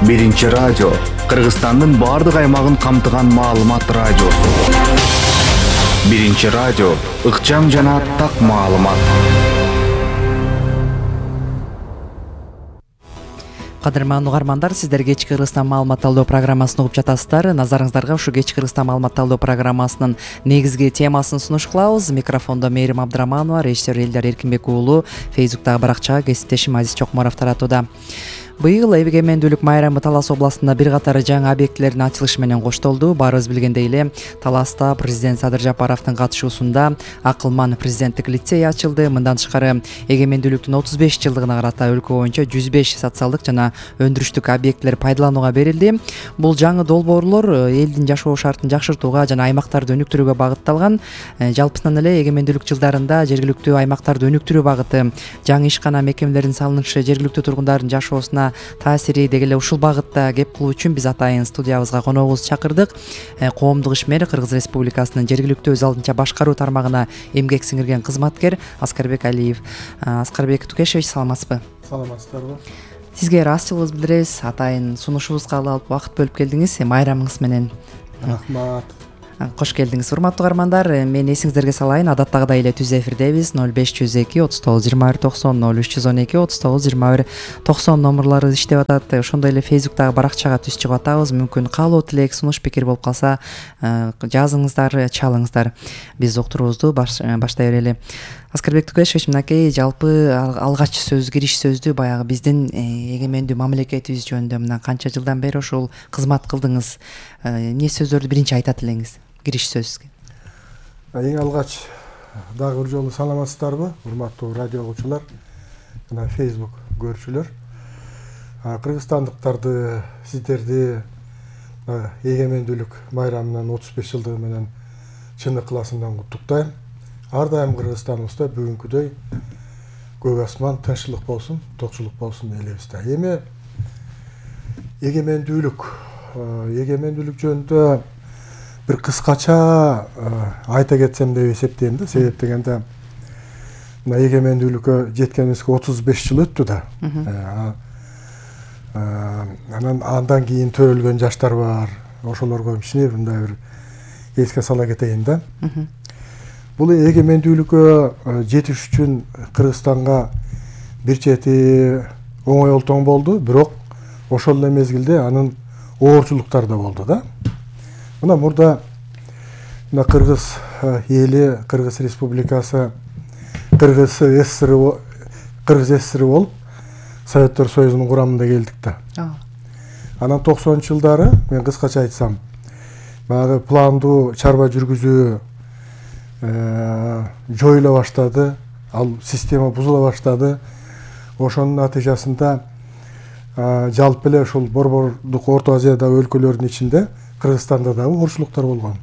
Биринчи радио Кыргызстандын баардык аймагын камтыган маалымат радиосу. Биринчи радио ыкчам жана так маалымат. Кадырман угармандар, сиздер кечки Кыргызстан маалымат талдоо программасын угуп жатасыздар. Назарыңыздарга ушу кечки Кыргызстан маалымат талдоо программасынын негизги темасын сунуш кылабыз. Микрофондо Мээрим Абдыраманова, режиссер Элдар Эркинбек уулу, Фейсбуктагы баракчага кесиптешим Азиз Чокморов таратууда. Быйыл эгемендүүлүк майрамы Талас областында бир катар жаңы объектилердин ачылышы менен коштолду. Баарыбыз билгендей эле Таласта президент Садыр Жапаровдун катышуусунда Акылман президенттик лицей ачылды. Мындан тышкары эгемендүүлүктүн отуз беш жылдыгына карата өлкө боюнча жүз беш социалдык жана өндүрүштүк объектилер пайдаланууга берилди. Бул жаңы долбоорлор элдин жашоо шартын жакшыртууга жана аймактарды өнүктүрүүгө багытталган. Жалпысынан эле эгемендүүлүк жылдарында жергиликтүү аймактарды өнүктүрүү багыты, жаңы ишкана мекемелердин салынышы жергиликтүү тургундардын жашоосуна таасири деги эле ушул багытта кеп кылуу үчүн биз атайын студиябызга коногубузду чакырдык. Коомдук ишмер, Кыргыз Республикасынын жергиликтүү өз алдынча башкаруу тармагына эмгек сиңирген кызматкер Аскарбек Алиев. Аскарбек Тукешевич, саламатсызбы? Саламатсыздарбы? Сизге ыраазычылыгыбызды билдиребиз. Атайын сунушубузга алып убакыт бөлүп келдиңиз. Майрамыңыз менен. Рахмат. Кош келдиңиз. Урматтуу каармандар, мен эсиңиздерге салайын, адаттагыдай эле түз эфирдебиз. ноль беш жүз эки отуз тогуз жыйырма бир токсон, ноль үч жүз он эки отуз тогуз жыйырма бир токсон номурлары иштеп атат. Ошондой эле Facebooktагы баракчага түз чыгып атабыз. Мүмкүн каалоо, тилек, сунуш, пикир болуп калса, жазыңыздар, чалыңыздар. Биз уктуруубузду баштай берели. Аскарбек Тукешевич, мынакей жалпы алгач сөз, кириш сөздү баягы биздин эгемендүү мамлекетибиз жөнүндө мына канча жылдан бери ушул кызмат кылдыңыз. Эмне сөздөрдү биринчи айтат элеңиз? Кириш сөзгө. Эң алгач дагы бир жолу саламатсыздарбы, урматтуу радио угуучулар жана Facebook көрүүчүлөр. Кыргызстандыктарды, сиздерди эгемендүүлүк майрамынын отуз беш жылдыгы менен чын ыкласымдан куттуктайм. Ар дайым Кыргызстаныбызда бүгүнкүдөй көк асман, тынччылык болсун, токчулук болсун элибизде. Эми эгемендүүлүк, эгемендүүлүк жөнүндө бир кыскача айта кетсем деп эсептейм да. Себеп дегенде мына эгемендүүлүккө жеткенибизге отуз беш жыл өттү да. Анан андан кийин төрөлгөн жаштар бар. Ошолорго кичине мындай бир эске сала кетейин да. Бул эгемендүүлүккө жетиш үчүн Кыргызстанга бир чети оңой олтоң болду, бирок ошол эле мезгилде анын оорчулуктары да болду да. Мына мурда мына Кыргыз эли, Кыргыз Республикасы, Кыргыз СССР, Кыргыз СССР болуп Советтер Союзунун курамында келдик да. Анан токсонунчу жылдары мен кыскача айтсам, баягы пландуу чарба жүргүзүү жоюла баштады, ал система бузула баштады. Ошонун натыйжасында жалпы эле ушул Борбордук Орто Азиядагы өлкөлөрдүн ичинде Кыргызстанда дагы оорчулуктар болгон.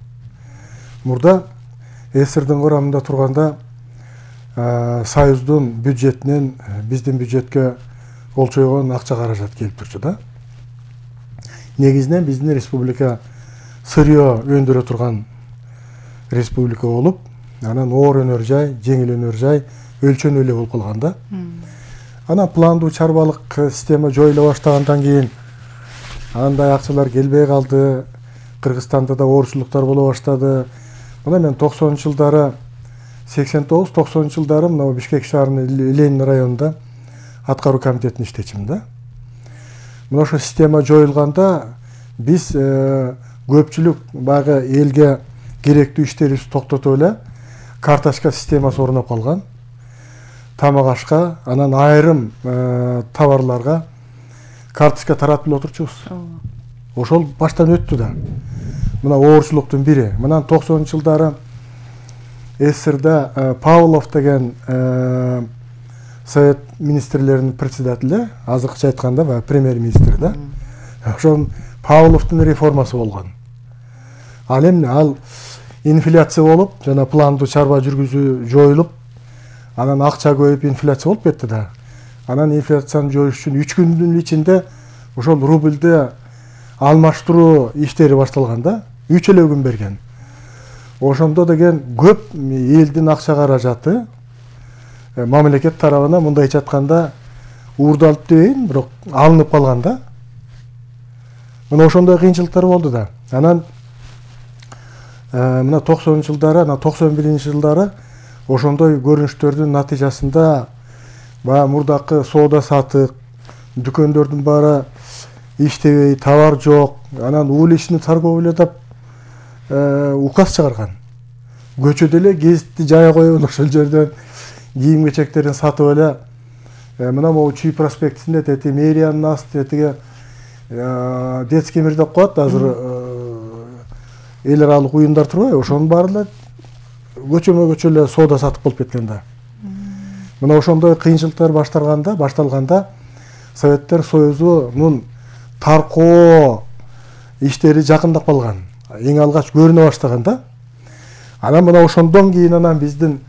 Мурда СССРдин курамында турганда Союздун бюджетинен биздин бюджетке олчойгон акча каражат келип турчу да. Негизинен биздин республика сырьё өндүрө турган республика болуп, анан оор өнөр жай, жеңил өнөр жай өлчөнүү эле болуп калган да. Анан пландуу чарбалык система жоюла баштагандан кийин андай акчалар келбей калды. Кыргызстанда да оорчулуктар боло баштады. Мына мен токсонунчу жылдары сексен тогуз токсонунчу жылдары мына Бишкек шаарынын Ленин районунда аткаруу комитетинде иштечимин да. Мына ошо система жоюлганда биз көпчүлүк баягы элге керектүү иштерибизди токтотуп эле карточка системасы орноп калган. Тамак ашка, анан айрым товарларга карточка таратып эле отурчубуз. Ошол баштан өттү да. Мына оорчулуктун бири. Мына токсонунчу жылдары СССРда Павлов деген Совет министрлеринин председатели, азыркыча айтканда баягы премьер-министр да. Ошон Павловдун реформасы болгон. Ал эми ал инфляция болуп, жана пландуу чарба жүргүзүү жоюлуп, анан акча көбөйүп инфляция болуп кетти да. Анан инфляцияны жоюш үчүн үч күндүн ичинде ошол рубльде алмаштыруу иштери башталган да. үч эле күн берген. Ошондо деген көп элдин акча каражаты мамлекет тарабынан мындайча айтканда уурдалып дебейин, бирок алынып калган да. Мына ошондой кыйынчылыктар болду да. Анан мына токсонунчу жылдары, анан токсон биринчи жылдары ошондой көрүнүштөрдүн натыйжасында баягы мурдакы соода сатык, дүкөндөрдүн баары иштебей, товар жок, анан уличный торговля деп указ чыгарган. Көчөдө эле гезитти жая коюп, ошол жерден кийим кечектерин сатып эле мына могу Чүй проспектисинде тети мэриянын асты тетиге детский мир деп коет азыр эл аралык уюмдар турбайбы, ошонун баары эле көчөмө көчө эле соода сатып болуп кеткен да. Мына ошондой кыйынчылыктар башталганда, башталганда Советтер Союзунун таркоо иштери жакындап калган. Эң алгач көрүнө баштаган да. Анан мына ошондон кийин анан биздин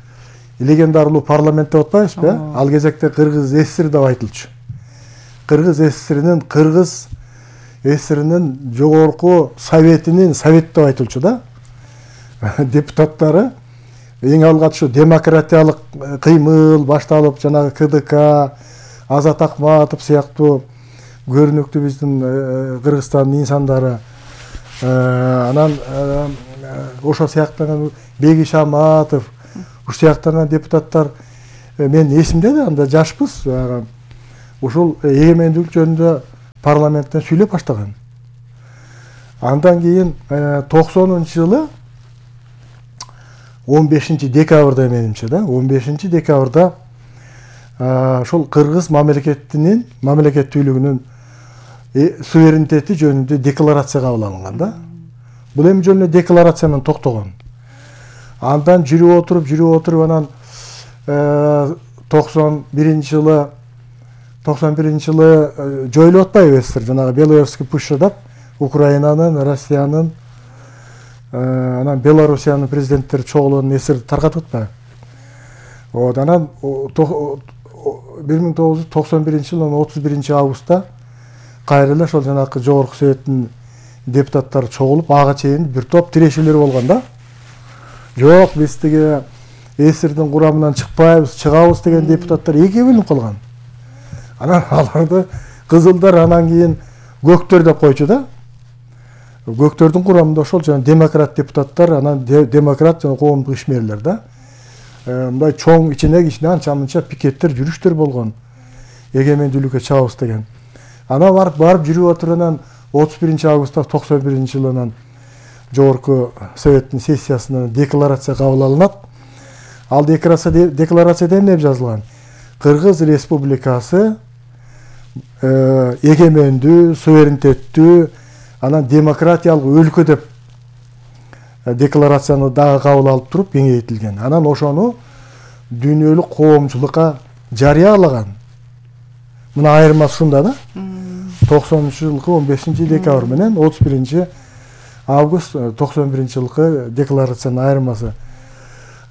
легендарылуу парламент деп атпайбызбы, э? Ал кезекте Кыргыз ССР деп айтылчу. Кыргыз ССРинин Кыргыз ССРинин жогорку советинин совет деп айтылчу да. Депутаттары эң алгач ушу демократиялык кыймыл башталып, жанагы КДК, Азат Акматов сыяктуу көрүнүктүү биздин Кыргызстандын инсандары, анан ошо сыяктаган Бегиш Аматов, ушу сыяктаган депутаттар мен эсимде да, анда жашпыз, ушул эгемендүүлүк жөнүндө парламенттен сүйлөп баштаган. Андан кийин токсонунчу жылы он бешинчи декабрда менимче да, он бешинчи декабрда ошол Кыргыз мамлекетинин мамлекеттүүлүгүнүн суверенитети жөнүндө декларация кабыл алынган да. Бул эми жөн эле декларация менен токтогон. Андан жүрүп отуруп, жүрүп отуруп анан токсон биринчи жылы токсон биринчи жылы жоюлуп атпайбы СССР, жанагы Беловежский пуща деп Украинанын, Россиянын, анан Белоруссиянын президенттери чогулуп СССРди таркатып атпайбы. Вот анан бир миң тогуз жүз токсон биринчи жылдын отуз биринчи августта кайра эле ошол жанакы жогорку советтин депутаттары чогулуп, ага чейин бир топ тирешүүлөр болгон да. Жок, биз тиги СССРдин курамынан чыкпайбыз, чыгабыз деген депутаттар экиге бөлүнүп калган. Анан аларды кызылдар, анан кийин көктөр деп койчу да. Көктөрдүн курамында ошол жана демократ депутаттар, анан демократ жана коомдук ишмерлер да. Мындай чоң ичине кичине анча-мынча пикеттер, жүрүштөр болгон. Эгемендүүлүккө чабабыз деген. Анан барып барып жүрүп отуруп анан отуз биринчи августта токсон биринчи жылы анан жогорку советтин сессиясынан декларация кабыл алынат. Ал декларацияда эмне деп жазылган? Кыргыз Республикасы эгемендүү, суверенитеттүү, анан демократиялык өлкө деп декларацияны дагы кабыл алып туруп кеңейтилген. Анан ошону дүйнөлүк коомчулукка жарыялаган. Мына айырмасы ушунда да. токсонунчу жылкы он бешинчи декабрь менен отуз биринчи август токсон биринчи жылкы декларациянын айырмасы.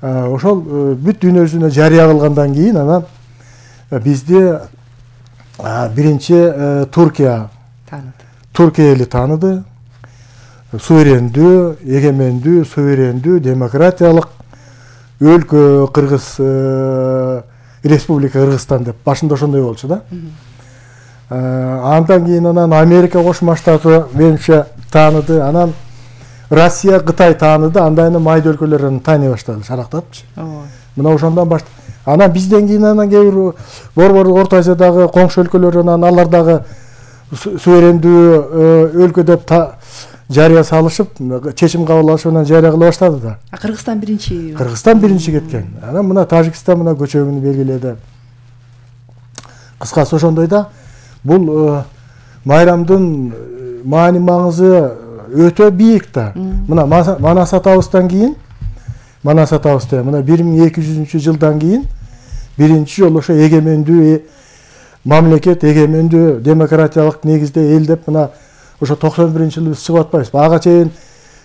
Ошол бүт дүйнө жүзүнө жарыя кылгандан кийин анан бизди биринчи Туркия тааныды. Туркия эли тааныды. Суверендүү, эгемендүү, суверендүү, демократиялык өлкө Кыргыз Республика Кыргызстан деп башында ошондой болчу да. Андан кийин анан Америка Кошмо Штаты менимче тааныды, анан Россия, Кытай тааныды, андан кийин майда өлкөлөр тааный баштады, шарактапчы. Мына ошондон баштап, анан бизден кийин анан кээ бир Борбор Орто Азиядагы коңшу өлкөлөр анан алар дагы суверендүү өлкө деп жарыя салышып, чечим кабыл алышып анан жарыя кыла баштады да. А Кыргызстан биринчи? Кыргызстан биринчи кеткен. Анан мына Тажикстан мына көчөгүнү белгиледи. Кыскасы ошондой да. Бул майрамдын маани маңызы өтө бийик да. Мына Манас атабыздан кийин, Манас атабызда мына бир миң эки жүзүнчү жылдан кийин биринчи жолу ошо эгемендүү мамлекет, эгемендүү демократиялык негизде эл деп мына ошо токсон биринчи жылы биз чыгып атпайбызбы. Ага чейин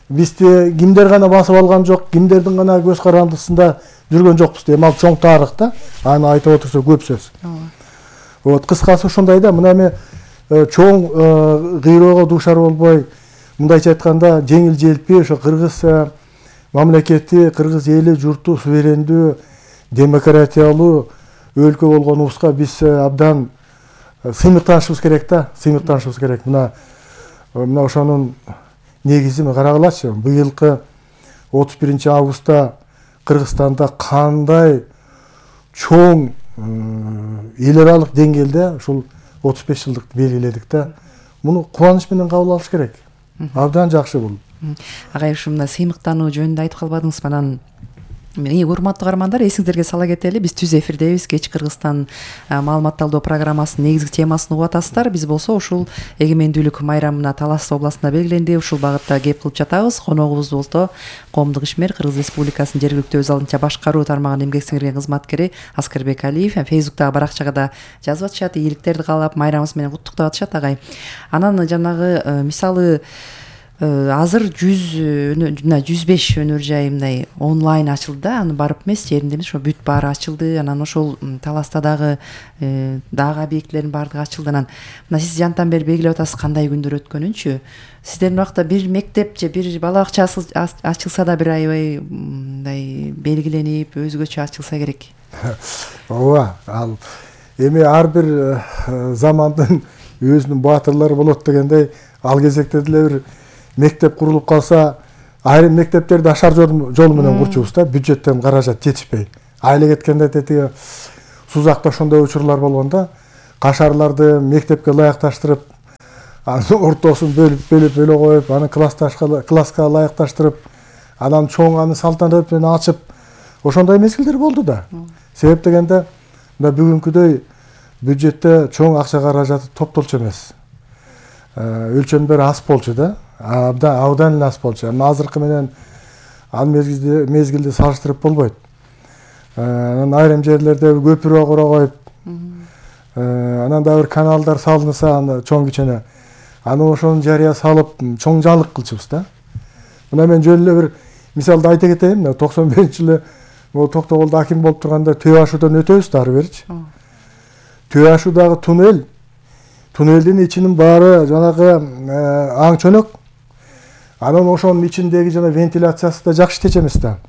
бизди кимдер гана басып алган жок, кимдердин гана көз карандысында жүргөн жокпуз дейм. Ал чоң тарых да. Аны айтып отурса көп сөз. Вот кыскасы ушундай да. Мына эми чоң кыйроого дуушар болбой, мындайча айтканда жеңил желпи ошо Кыргыз мамлекети, Кыргыз эли, журту суверендүү, демократиялуу өлкө болгонубузга биз абдан сыймыктанышыбыз керек да. Сыймыктанышыбыз керек. Мына Мына ошонун негизин карагылачы. Быйылкы отуз биринчи августта Кыргызстанда кандай чоң эл аралык деңгээлде ушул отуз беш жылдыкты белгиледик да. Муну кубаныч менен кабыл алыш керек. Абдан жакшы бул. Агай, ушу мына сыймыктануу жөнүндө айтып калбадыңызбы? Анан Урматтуу каармандар, эсиңиздерге сала кетели, биз түз эфирдебиз. Кеч Кыргызстан маалыматталдоо программасынын негизги темасын угуп атасыздар. Биз болсо ушул эгемендүүлүк майрамына Талас областында белгиленди. Ушул багытта кеп кылып жатабыз. Коногубуз болсо коомдук ишмер, Кыргыз Республикасынын жергиликтүү өз алдынча башкаруу тармагынын эмгек сиңирген кызматкери Аскарбек Алиев. Фейсбуктагы баракчага да жазып атышат, ийгиликтерди каалап, майрамыбыз менен куттуктап атышат агай. Анан жанагы мисалы азыр жүз жана жүз беш өнөр жай мындай онлайн ачылды да, аны барып эмес, жеринде эмес, ошо бүт баары ачылды. Анан ошол Таласта дагы дагы объектилердин баардыгы ачылды. Анан мына сиз жантан бери белгилеп атасыз кандай күндөр өткөнүнчү. Сиздердин убакта бир мектеп же бир бала бакча ачылса да бир аябай мындай белгиленип, өзгөчө ачылса керек. Ооба, ал эми ар бир замандын өзүнүн баатырлары болот дегендей, ал кезекте деле бир мектеп курулуп калса, айрым мектептерди ашар жол менен курчубуз да, бюджеттен каражат жетишпей. Айла кеткенде тетиги Сузакта ошондой учурлар болгон да, кашарларды мектепке ылайыкташтырып, анын ортосун бөлүп бөлүп бөлө коюп, аны классташка класска ылайыкташтырып, анан чоң аны салтанат менен ачып, ошондой мезгилдер болду да. Себеп дегенде, мына бүгүнкүдөй бюджетте чоң акча каражаты топтолчу эмес. Өлчөмдөр аз болчу да. Абдан эле аз болчу. Азыркы менен ал мезгилди мезгилди салыштырып болбойт. Анан айрым жерлерде көпүрө кура коюп, анан да бир каналдар салынса, аны чоң кичене, аны ошону жарыя салып, чоң жалык кылчубуз да. Мына мен жөн эле бир мисалды айта кетейин. токсон бешинчи жылы могу Токтогулда аким болуп турганда Төө Ашуудан өтөбүз да ары беричи. Төө Ашуудагы туннель, туннелдин ичинин баары жанагы аң чөнөк. Анан ошонун ичиндеги жана вентиляциясы да жакшы иштечү эмес да.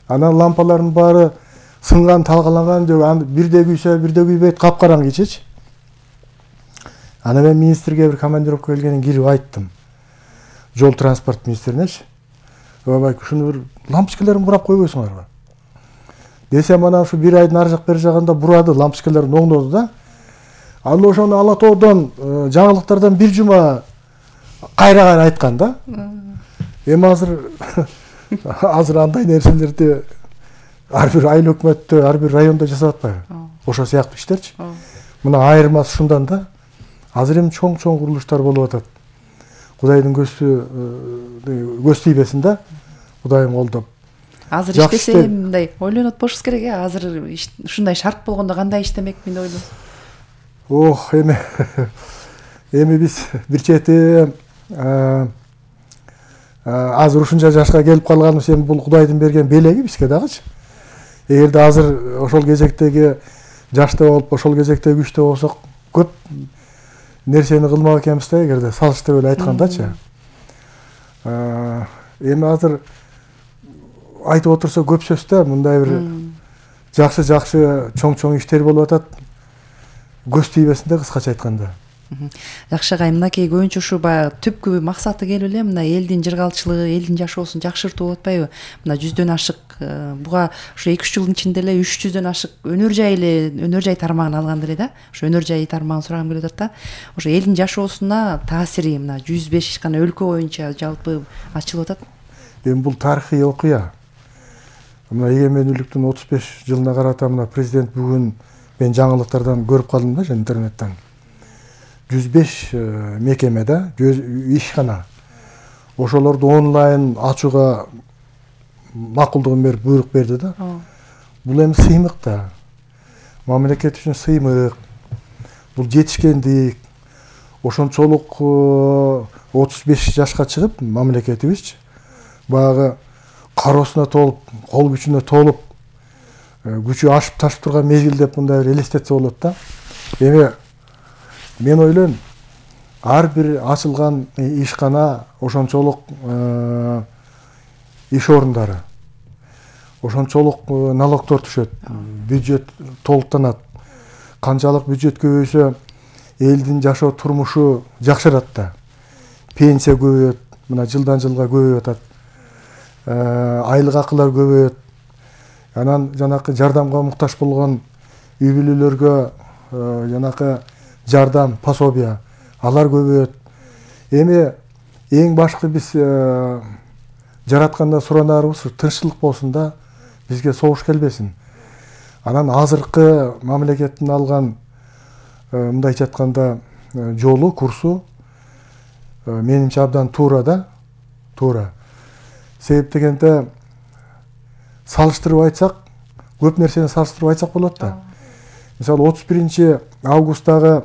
Анан лампалардын баары сынган, талкаланган, же бирде күйсө, бирде күйбөйт, капкараңгы ичичи. Анан мен министрге бир командировка келгенин кирип айттым. Жол транспорт министринечи. Ой, ушуну бир лампочкаларын бурап койбойсуңарбы? Десем, ана ушу бир айдын ар жак бери жагында бурады, лампочкаларын оңдоду да. Аны ошону Ала тоодон, жаңылыктардан бир жума кайра-кайра айткан да. Эми азыр азыр андай нерселерди ар бир айыл өкмөттө, ар бир райондо жасап атпайбы? Ошо сыяктуу иштерчи. Мына айырмасы ушундан да. Азыр эми чоң-чоң курулуштар болуп атат. Кудайдын көзү көз тийбесин да. Кудайым колдоп. Азыр иштесе мындай ойлонуп болушубуз керек, э? Азыр ушундай шарт болгондо кандай иштемекмин деп ойлойсуз? Ох, эми эми биз бир чети азыр ушунча жашка келип калганыбыз эми бул Кудайдын берген белеги бизге дагычы. Эгерде азыр ошол кезектеги жашта болуп, ошол кезектеги күчтө болсок, көп нерсени кылмак экенбиз да, эгерде салыштырып эле айткандачы. Эми азыр айтып отурса көп сөз да, мындай бир жакшы-жакшы чоң-чоң иштер болуп атат. Көз тийбесинде кыскача айтканда. Жакшы агай, мынакей көбүнчө ушу баягы түпкү максаты келип эле мына элдин жыргалчылыгы, элдин жашоосун жакшыртуу болуп атпайбы? Мына жүздөн ашык, буга ушу эки үч жылдын ичинде эле үч жүздөн ашык өнөр жай эле, өнөр жай тармагын алган эле да. Ошо өнөр жай тармагын сурагым келип атат да. Ошо элдин жашоосуна таасири мына жүз беш гана өлкө боюнча жалпы ачылып атат. Эми бул тарыхый окуя. Мына эгемендүүлүктүн отуз беш жылына карата мына президент бүгүн мен жаңылыктардан көрүп калдым да, интернеттен. жүз беш мекемеде ишкана. Ошолорду онлайн ачууга макулдугун берип буйрук берди да. Бул эми сыймык да. Мамлекет үчүн сыймык. Бул жетишкендик. Ошончолук отуз беш жашка чыгып мамлекетибизчи баягы кароосуна толуп, кол күчүнө толуп, күчү ашып ташып турган мезгил деп мындай бир элестетсе болот да. Эми мен ойлойм, ар бир ачылган ишкана ошончолук иш орундары, ошончолук налогдор түшөт, бюджет толуктанат. Канчалык бюджет көбөйсө, элдин жашоо турмушу жакшырат да. Пенсия көбөйөт, мына жылдан жылга көбөйүп атат. Айлык акылар көбөйөт. Анан жанакы жардамга муктаж болгон үй бүлөлөргө жанакы жардам, пособия, алар көбөйөт. Эми эң башкы биз жараткандан суранарыбыз тынччылык болсун да, бизге согуш келбесин. Анан азыркы мамлекеттин алган мындайча айтканда жолу, курсу менимче абдан туура да, туура. Себеп дегенде салыштырып айтсак, көп нерсени салыштырып айтсак болот да. Мисалы отуз биринчи августтагы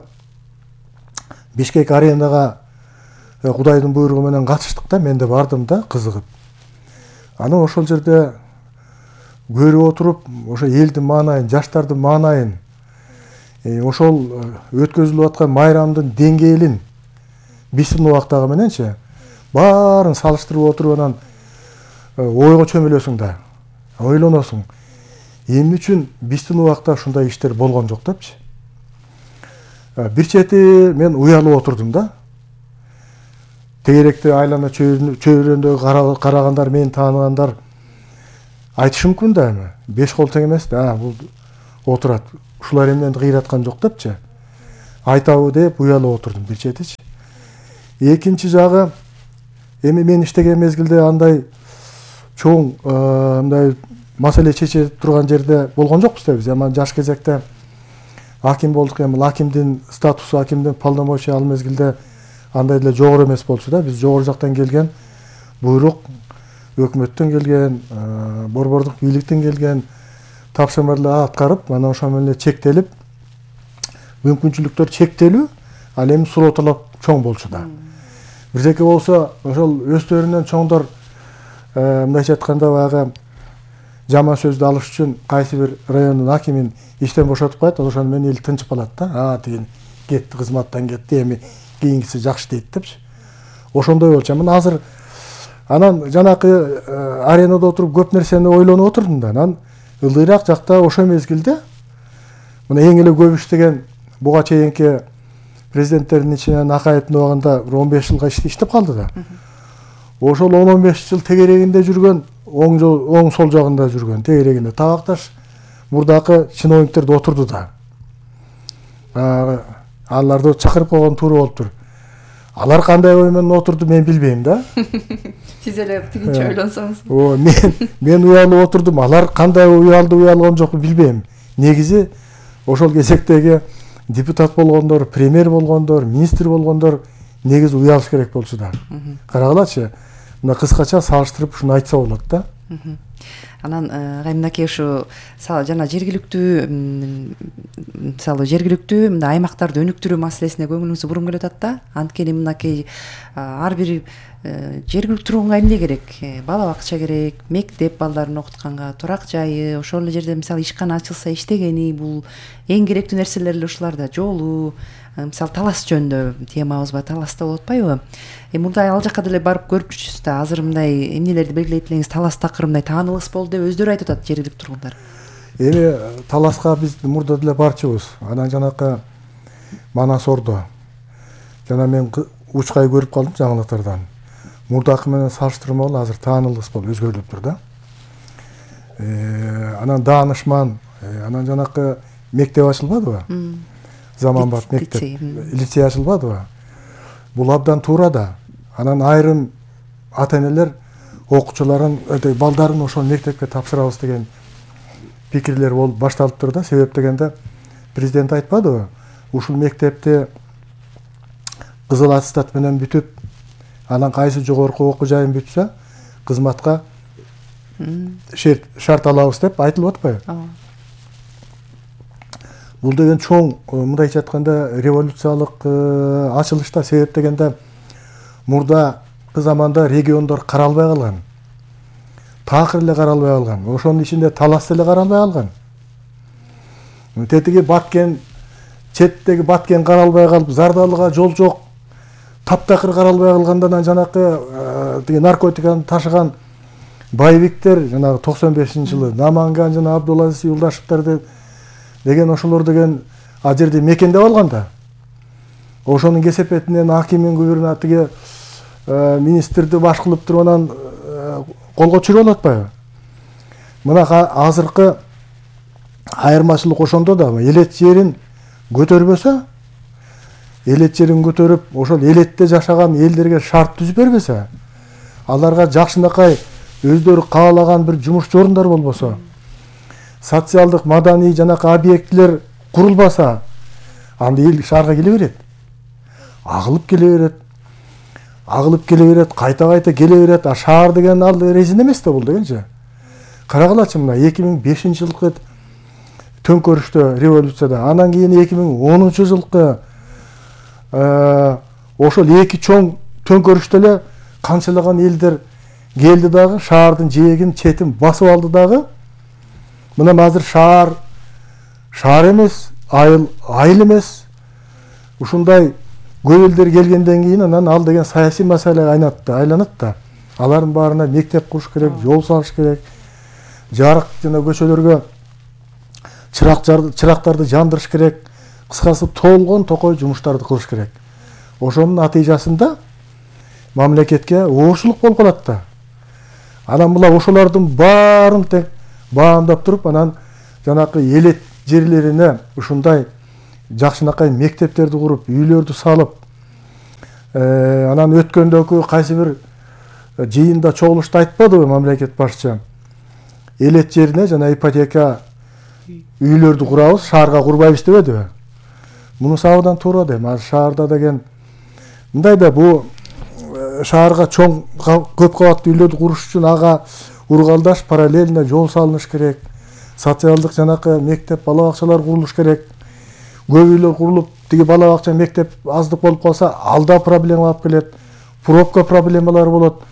Бишкек аренага Кудайдын буйругу менен катыштык да, мен да бардым да, кызыгып. Анан ошол жерде көрүп отуруп, ошо элдин маанайын, жаштардын маанайын, ошол өткөзүлүп аткан майрамдын деңгээлин биздин убактагы мененчи баарын салыштырып отуруп анан ойго чөмүлөсүң да, ойлоносуң. Эмне үчүн биздин убакта ушундай иштер болгон жок депчи. Бир чети мен уялып отурдум да. Тегеректе айлана чөйрөндөгү карагандар, мени тааныгандар айтышы мүмкүн да, эми беш кол тең эмес да, бул отурат. Ушулар эмнени кыйраткан жок депчи. Айтабы деп уялып отурдум бир четичи. Экинчи жагы, эми мен иштеген мезгилде андай чоң мындай маселе чече турган жерде болгон жокпуз да биз. Эми жаш кезекте аким болдук, эми акимдин статусу, акимдин полномочия ал мезгилде андай деле жогору эмес болчу да. Биз жогору жактан келген буйрук, өкмөттөн келген, борбордук бийликтен келген тапшырмаларды аткарып, анан ошо менен чектелип, мүмкүнчүлүктөр чектелүү, ал эми суроо талап чоң болчу да. Бирдеке болсо, ошол өздөрүнөн чоңдор мындайча айтканда баягы жаман сөздү алыш үчүн кайсы бир райондун акимин иштен бошотуп коет, ошону менен эл тынчып калат да. А, тиги кетти, кызматтан кетти, эми кийинкиси жакшы дейт депчи. Ошондой болчу. Мына азыр анан жанакы аренада отуруп көп нерсени ойлонуп отурдум да. Анан ылдыйраак жакта ошо мезгилде мына эң эле көп иштеген буга чейинки президенттердин ичинен Акаевдин убагында он беш жылга иштеп калды да. Ошол он он беш жыл тегерегинде жүргөн, оң оң сол жагында жүргөн тегерегинде табакташ мурдакы чиновниктер отурду да. Аларды чакырып койгон туура болуптур. Алар кандай ой менен отурду мен билбейм да. Сиз эле тигинче ойлонсоңуз. О, мен мен уялып отурдум. Алар кандай уялды, уялган жок билбейм. Негизи ошол кезектеги депутат болгондор, премьер болгондор, министр болгондор негизи уялыш керек болчу да. Карагылачы. Мына кыскача салыштырып ушуну айтса болот да. Анан кайымдакей ушу жана жергиликтүү мисалы жергиликтүү мындай аймактарды өнүктүрүү маселесине көңүлүңүз буруп келип атат да. Анткени мынакей ар бир жергиликтүү тургунга эмне керек? Бала бакча керек, мектеп балдарын окутканга, турак жайы, ошол эле жерде мисалы ишкана ачылса иштегени, бул эң керектүү нерселер эле ушуларда. Жолу, мисалы талас жөнүндө темабыз бар, таласта болуп атпайбы? Эми мурда ал жака деле барып көрүп жүрчүсүз да. Азыр мындай эмнелерди белгилейт элеңиз? Талас такыры мындай таанылыс болду деп өздөрү айтып атат жергиликтүү тургундар. Эми таласка биз мурда деле барчубуз. Анан жанакы Манас Ордо. Жана мен учкай көрүп калдым жаңылыктардан. Мурдакы менен салыштырмалуу азыр таанылыс болуп өзгөрүлүптүр да. Анан Даанышман, анан жанакы мектеп ачылбадыбы? Заманбап мектеп, лицей ачылбадыбы? Бул абдан туура да. Анан айрым ата-энелер окуучуларын, балдарын ошол мектепке тапшырабыз деген пикирлер болуп башталыптыр да. Себеп дегенде президент айтпадыбы? Ушул мектепти кызыл аттестат менен бүтүп, анан кайсы жогорку окуу жайын бүтсө, кызматка шарт алабыз деп айтылып атпайбы? Бул деген чоң, мындайча айтканда, революциялык ачылыш да. Себеп дегенде мурдакы заманда региондор каралбай калган. Такыр эле каралбай калган. Ошонун ичинде талас эле каралбай калган. Тетиги Баткен, четтеги Баткен каралбай калып, Зардалыга жол жок. Таптакыр каралбай калгандан жанакы тиги наркотиканы ташыган байбиктер, жанагы токсон бешинчи жылы Наманган жана Абдулазиз Юлдашевтерди деген ошолор деген ал жерде мекендеп алган да. Ошонун кесепетинен акимин губернатыгы министрди баш кылып туруп анан колго түшүрүп атпайбы? Мына азыркы айырмачылык ошондо да. Элет жерин көтөрбөсө, элет жерин көтөрүп, ошол элетте жашаган элдерге шарт түзүп бербесе, аларга жакшынакай өздөрү каалаган бир жумуш орундар болбосо, социалдык маданий жанакы объектилер курулбаса анда эл шаарга келе берет, агылып келе берет, агылып келе берет, кайта кайта келе берет. А шаар деген ал резин эмес да бул дегенчи. Карагылачы мына эки миң бешинчи жылкы төңкөрүштө, революцияда, анан кийин эки миң онунчу жылкы ошол эки чоң төңкөрүштө эле канчалаган элдер келди дагы, шаардын жээгин четин басып алды дагы. Мына азыр шаар шаар эмес, айыл айыл эмес. Ушундай көп элдер келгенден кийин анан ал деген саясий маселеге айланат айланат да. Алардын баарына мектеп куруш керек, жол салыш керек, жарык жана көчөлөргө чырактарды жандырыш керек. Кыскасы толгон токой жумуштарды кылыш керек. Ошонун натыйжасында мамлекетке оорчулук болуп калат да. Анан була ошолордун баарын тең баамдап туруп, анан жанакы элет жерлерине ушундай жакшынакай мектептерди куруп, үйлөрдү салып, анан өткөндөгү кайсы бир жыйында чогулушта айтпадыбы мамлекет башчы? Элет жерине жана ипотека үйлөрдү курабыз, шаарга курбайбыз дебедиби? Мунусу абдан туура дейм. Азыр шаарда деген мындай да, бул шаарга чоң көп кабаттуу үйлөрдү куруш үчүн ага ургалдаш параллельно жол салыныш керек. Социалдык жанакы мектеп, бала бакчалар курулуш керек. Көп үйлөр курулуп, тиги бала бакча, мектеп аздык болуп калса, алда проблема алып келет. Пробка проблемалары болот.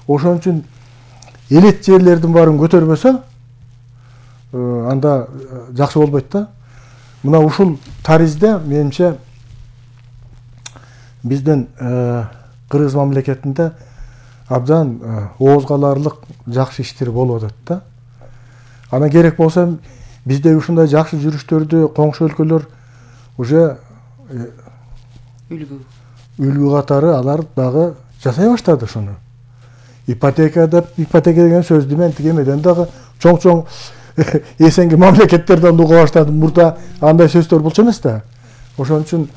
Ошон үчүн элет жерлердин баарын көтөрбөсө, анда жакшы болбойт да. Мына ушул таризде менимче биздин Кыргыз мамлекетинде абдан оозго аларлык жакшы иштер болуп атат да. Анан керек болсо бизде ушундай жакшы жүрүштөрдү коңшу өлкөлөр уже үлгү үлгү катары алар дагы жасай баштады ошону. Ипотека деп, ипотека деген сөздү мен тигемеден дагы чоң-чоң эсенги мамлекеттерден уга баштадым. Мурда андай сөздөр болчу эмес да. Ошон үчүн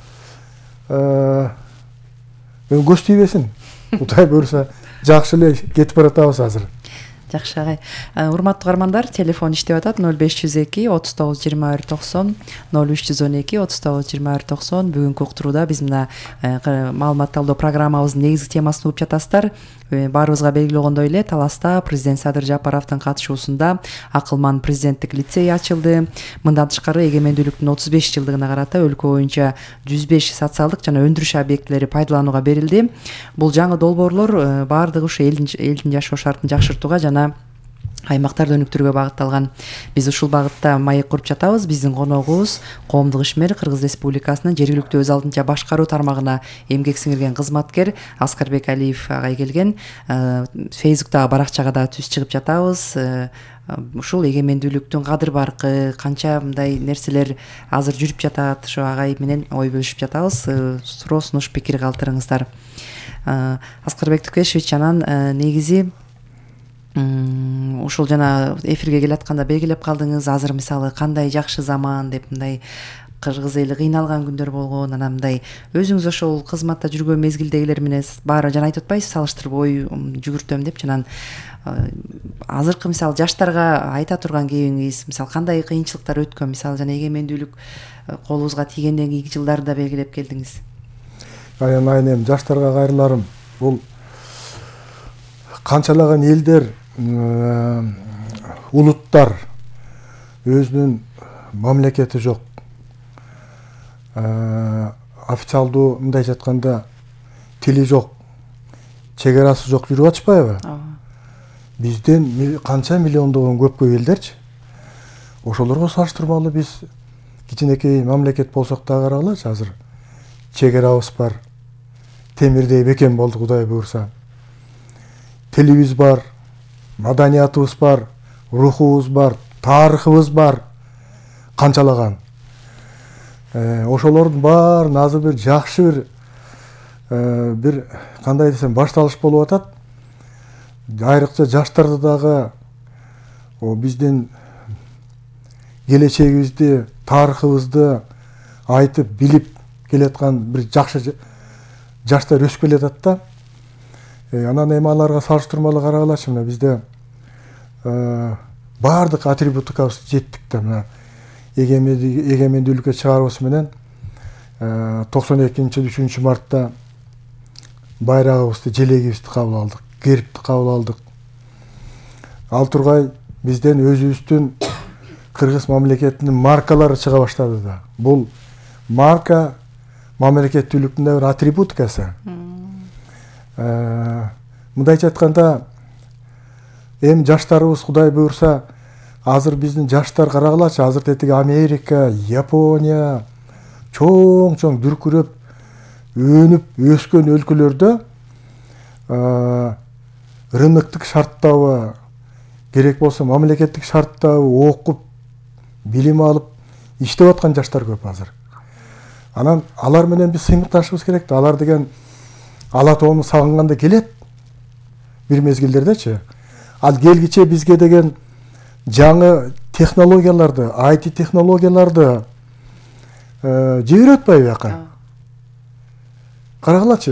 көз тийбесин. Кудай буйруса жакшы эле кетип баратабыз азыр. Жакшы агай. Урматтуу каармандар, телефон иштеп атат ноль беш жүз эки отуз тогуз жыйырма бир токсон, ноль үч жүз он эки отуз тогуз жыйырма бир токсон. Бүгүнкү уктурууда биз мына маалымат талдоо программабыздын негизги темасын угуп жатасыздар. Баарыбызга белгилүү болгондой эле Таласта президент Садыр Жапаровдун катышуусунда акылман президенттик лицей ачылды. Мындан тышкары эгемендүүлүктүн отуз беш жылдыгына карата өлкө боюнча жүз беш социалдык жана өндүрүш объектилери пайдаланууга берилди. Бул жаңы долбоорлор баардыгы ушу элдин жашоо шартын жакшыртууга жана аймактарды өнүктүрүүгө багытталган. Биз ушул багытта маек куруп жатабыз. Биздин коногубуз коомдук ишмер Кыргыз Республикасынын жергиликтүү өз алдынча башкаруу тармагына эмгек сиңирген кызматкер Аскарбек Алиев агай келген. Фейсбуктагы баракчага да түз чыгып жатабыз. Ушул эгемендүүлүктүн кадыр баркы, канча мындай нерселер азыр жүрүп жатат, ошо агай менен ой бөлүшүп жатабыз. Суроо сунуш пикир калтырыңыздар. Аскарбек Тукешевич, анан негизи ушул жана эфирге келатканда белгилеп калдыңыз, азыр мисалы кандай жакшы заман деп, мындай кыргыз эли кыйналган күндөр болгон, анан мындай өзүңүз ошол кызматта жүргөн мезгилдегилер менен баары жана айтып атпайсыз, салыштырып ой жүгүртөм деп, жана азыркы мисалы жаштарга айта турган кебиңиз, мисалы кандай кыйынчылыктар өткөн, мисалы жана эгемендүүлүк колубузга тийгенден кийинки жылдарды да белгилеп келдиңиз. Аянайын эми жаштарга кайрыларым, бул канчалаган элдер, улуттар өзүнүн мамлекети жок, официалдуу мындайча айтканда тили жок, чек арасы жок жүрүп атышпайбы? Бизден канча миллиондогон көпкө элдерчи. Ошолорго салыштырмалуу биз кичинекей мамлекет болсок да карагылачы, азыр чек арабыз бар, темирдей бекем болду Кудай буйрса. Тилибиз бар, маданиятыбыз бар, рухубуз бар, тарыхыбыз бар, канчалаган. Ошолордун баарын азыр бир жакшы бир бир кандай десем башталыш болуп атат. Айрыкча жаштарды дагы биздин келечегибизди, тарыхыбызды айтып билип келаткан бир жакшы жаштар өсүп келатат да. Анан эми аларга салыштырмалуу карагалачы, мына бизде баардык атрибутикабыз жеттик да мына эгемендүүлүккө чыгарыбыз менен токсон экинчи үчүнчү мартта байрагыбызды, желегибизди кабыл алдык, гербти кабыл алдык. Ал тургай бизден өзүбүздүн кыргыз мамлекетинин маркалары чыга баштады да. Бул марка мамлекеттүүлүктүн да бир атрибутикасы. Мындайча айтканда, эми жаштарыбыз Кудай буйрса, азыр биздин жаштар карагылачы, азыр тетиги Америка, Япония чоң-чоң дүркүрөп, өнүп өскөн өлкөлөрдө рыноктук шарттабы, керек болсо мамлекеттик шарттабы окуп, билим алып, иштеп аткан жаштар көп азыр. Анан алар менен биз сыймыкташыбыз керек да. Алар деген ала тоону сагынганда келет бир мезгилдердечи. Ал келгиче бизге деген жаңы технологияларды, ай ти технологияларды жиберип атпайбы бияка? Карагылачы.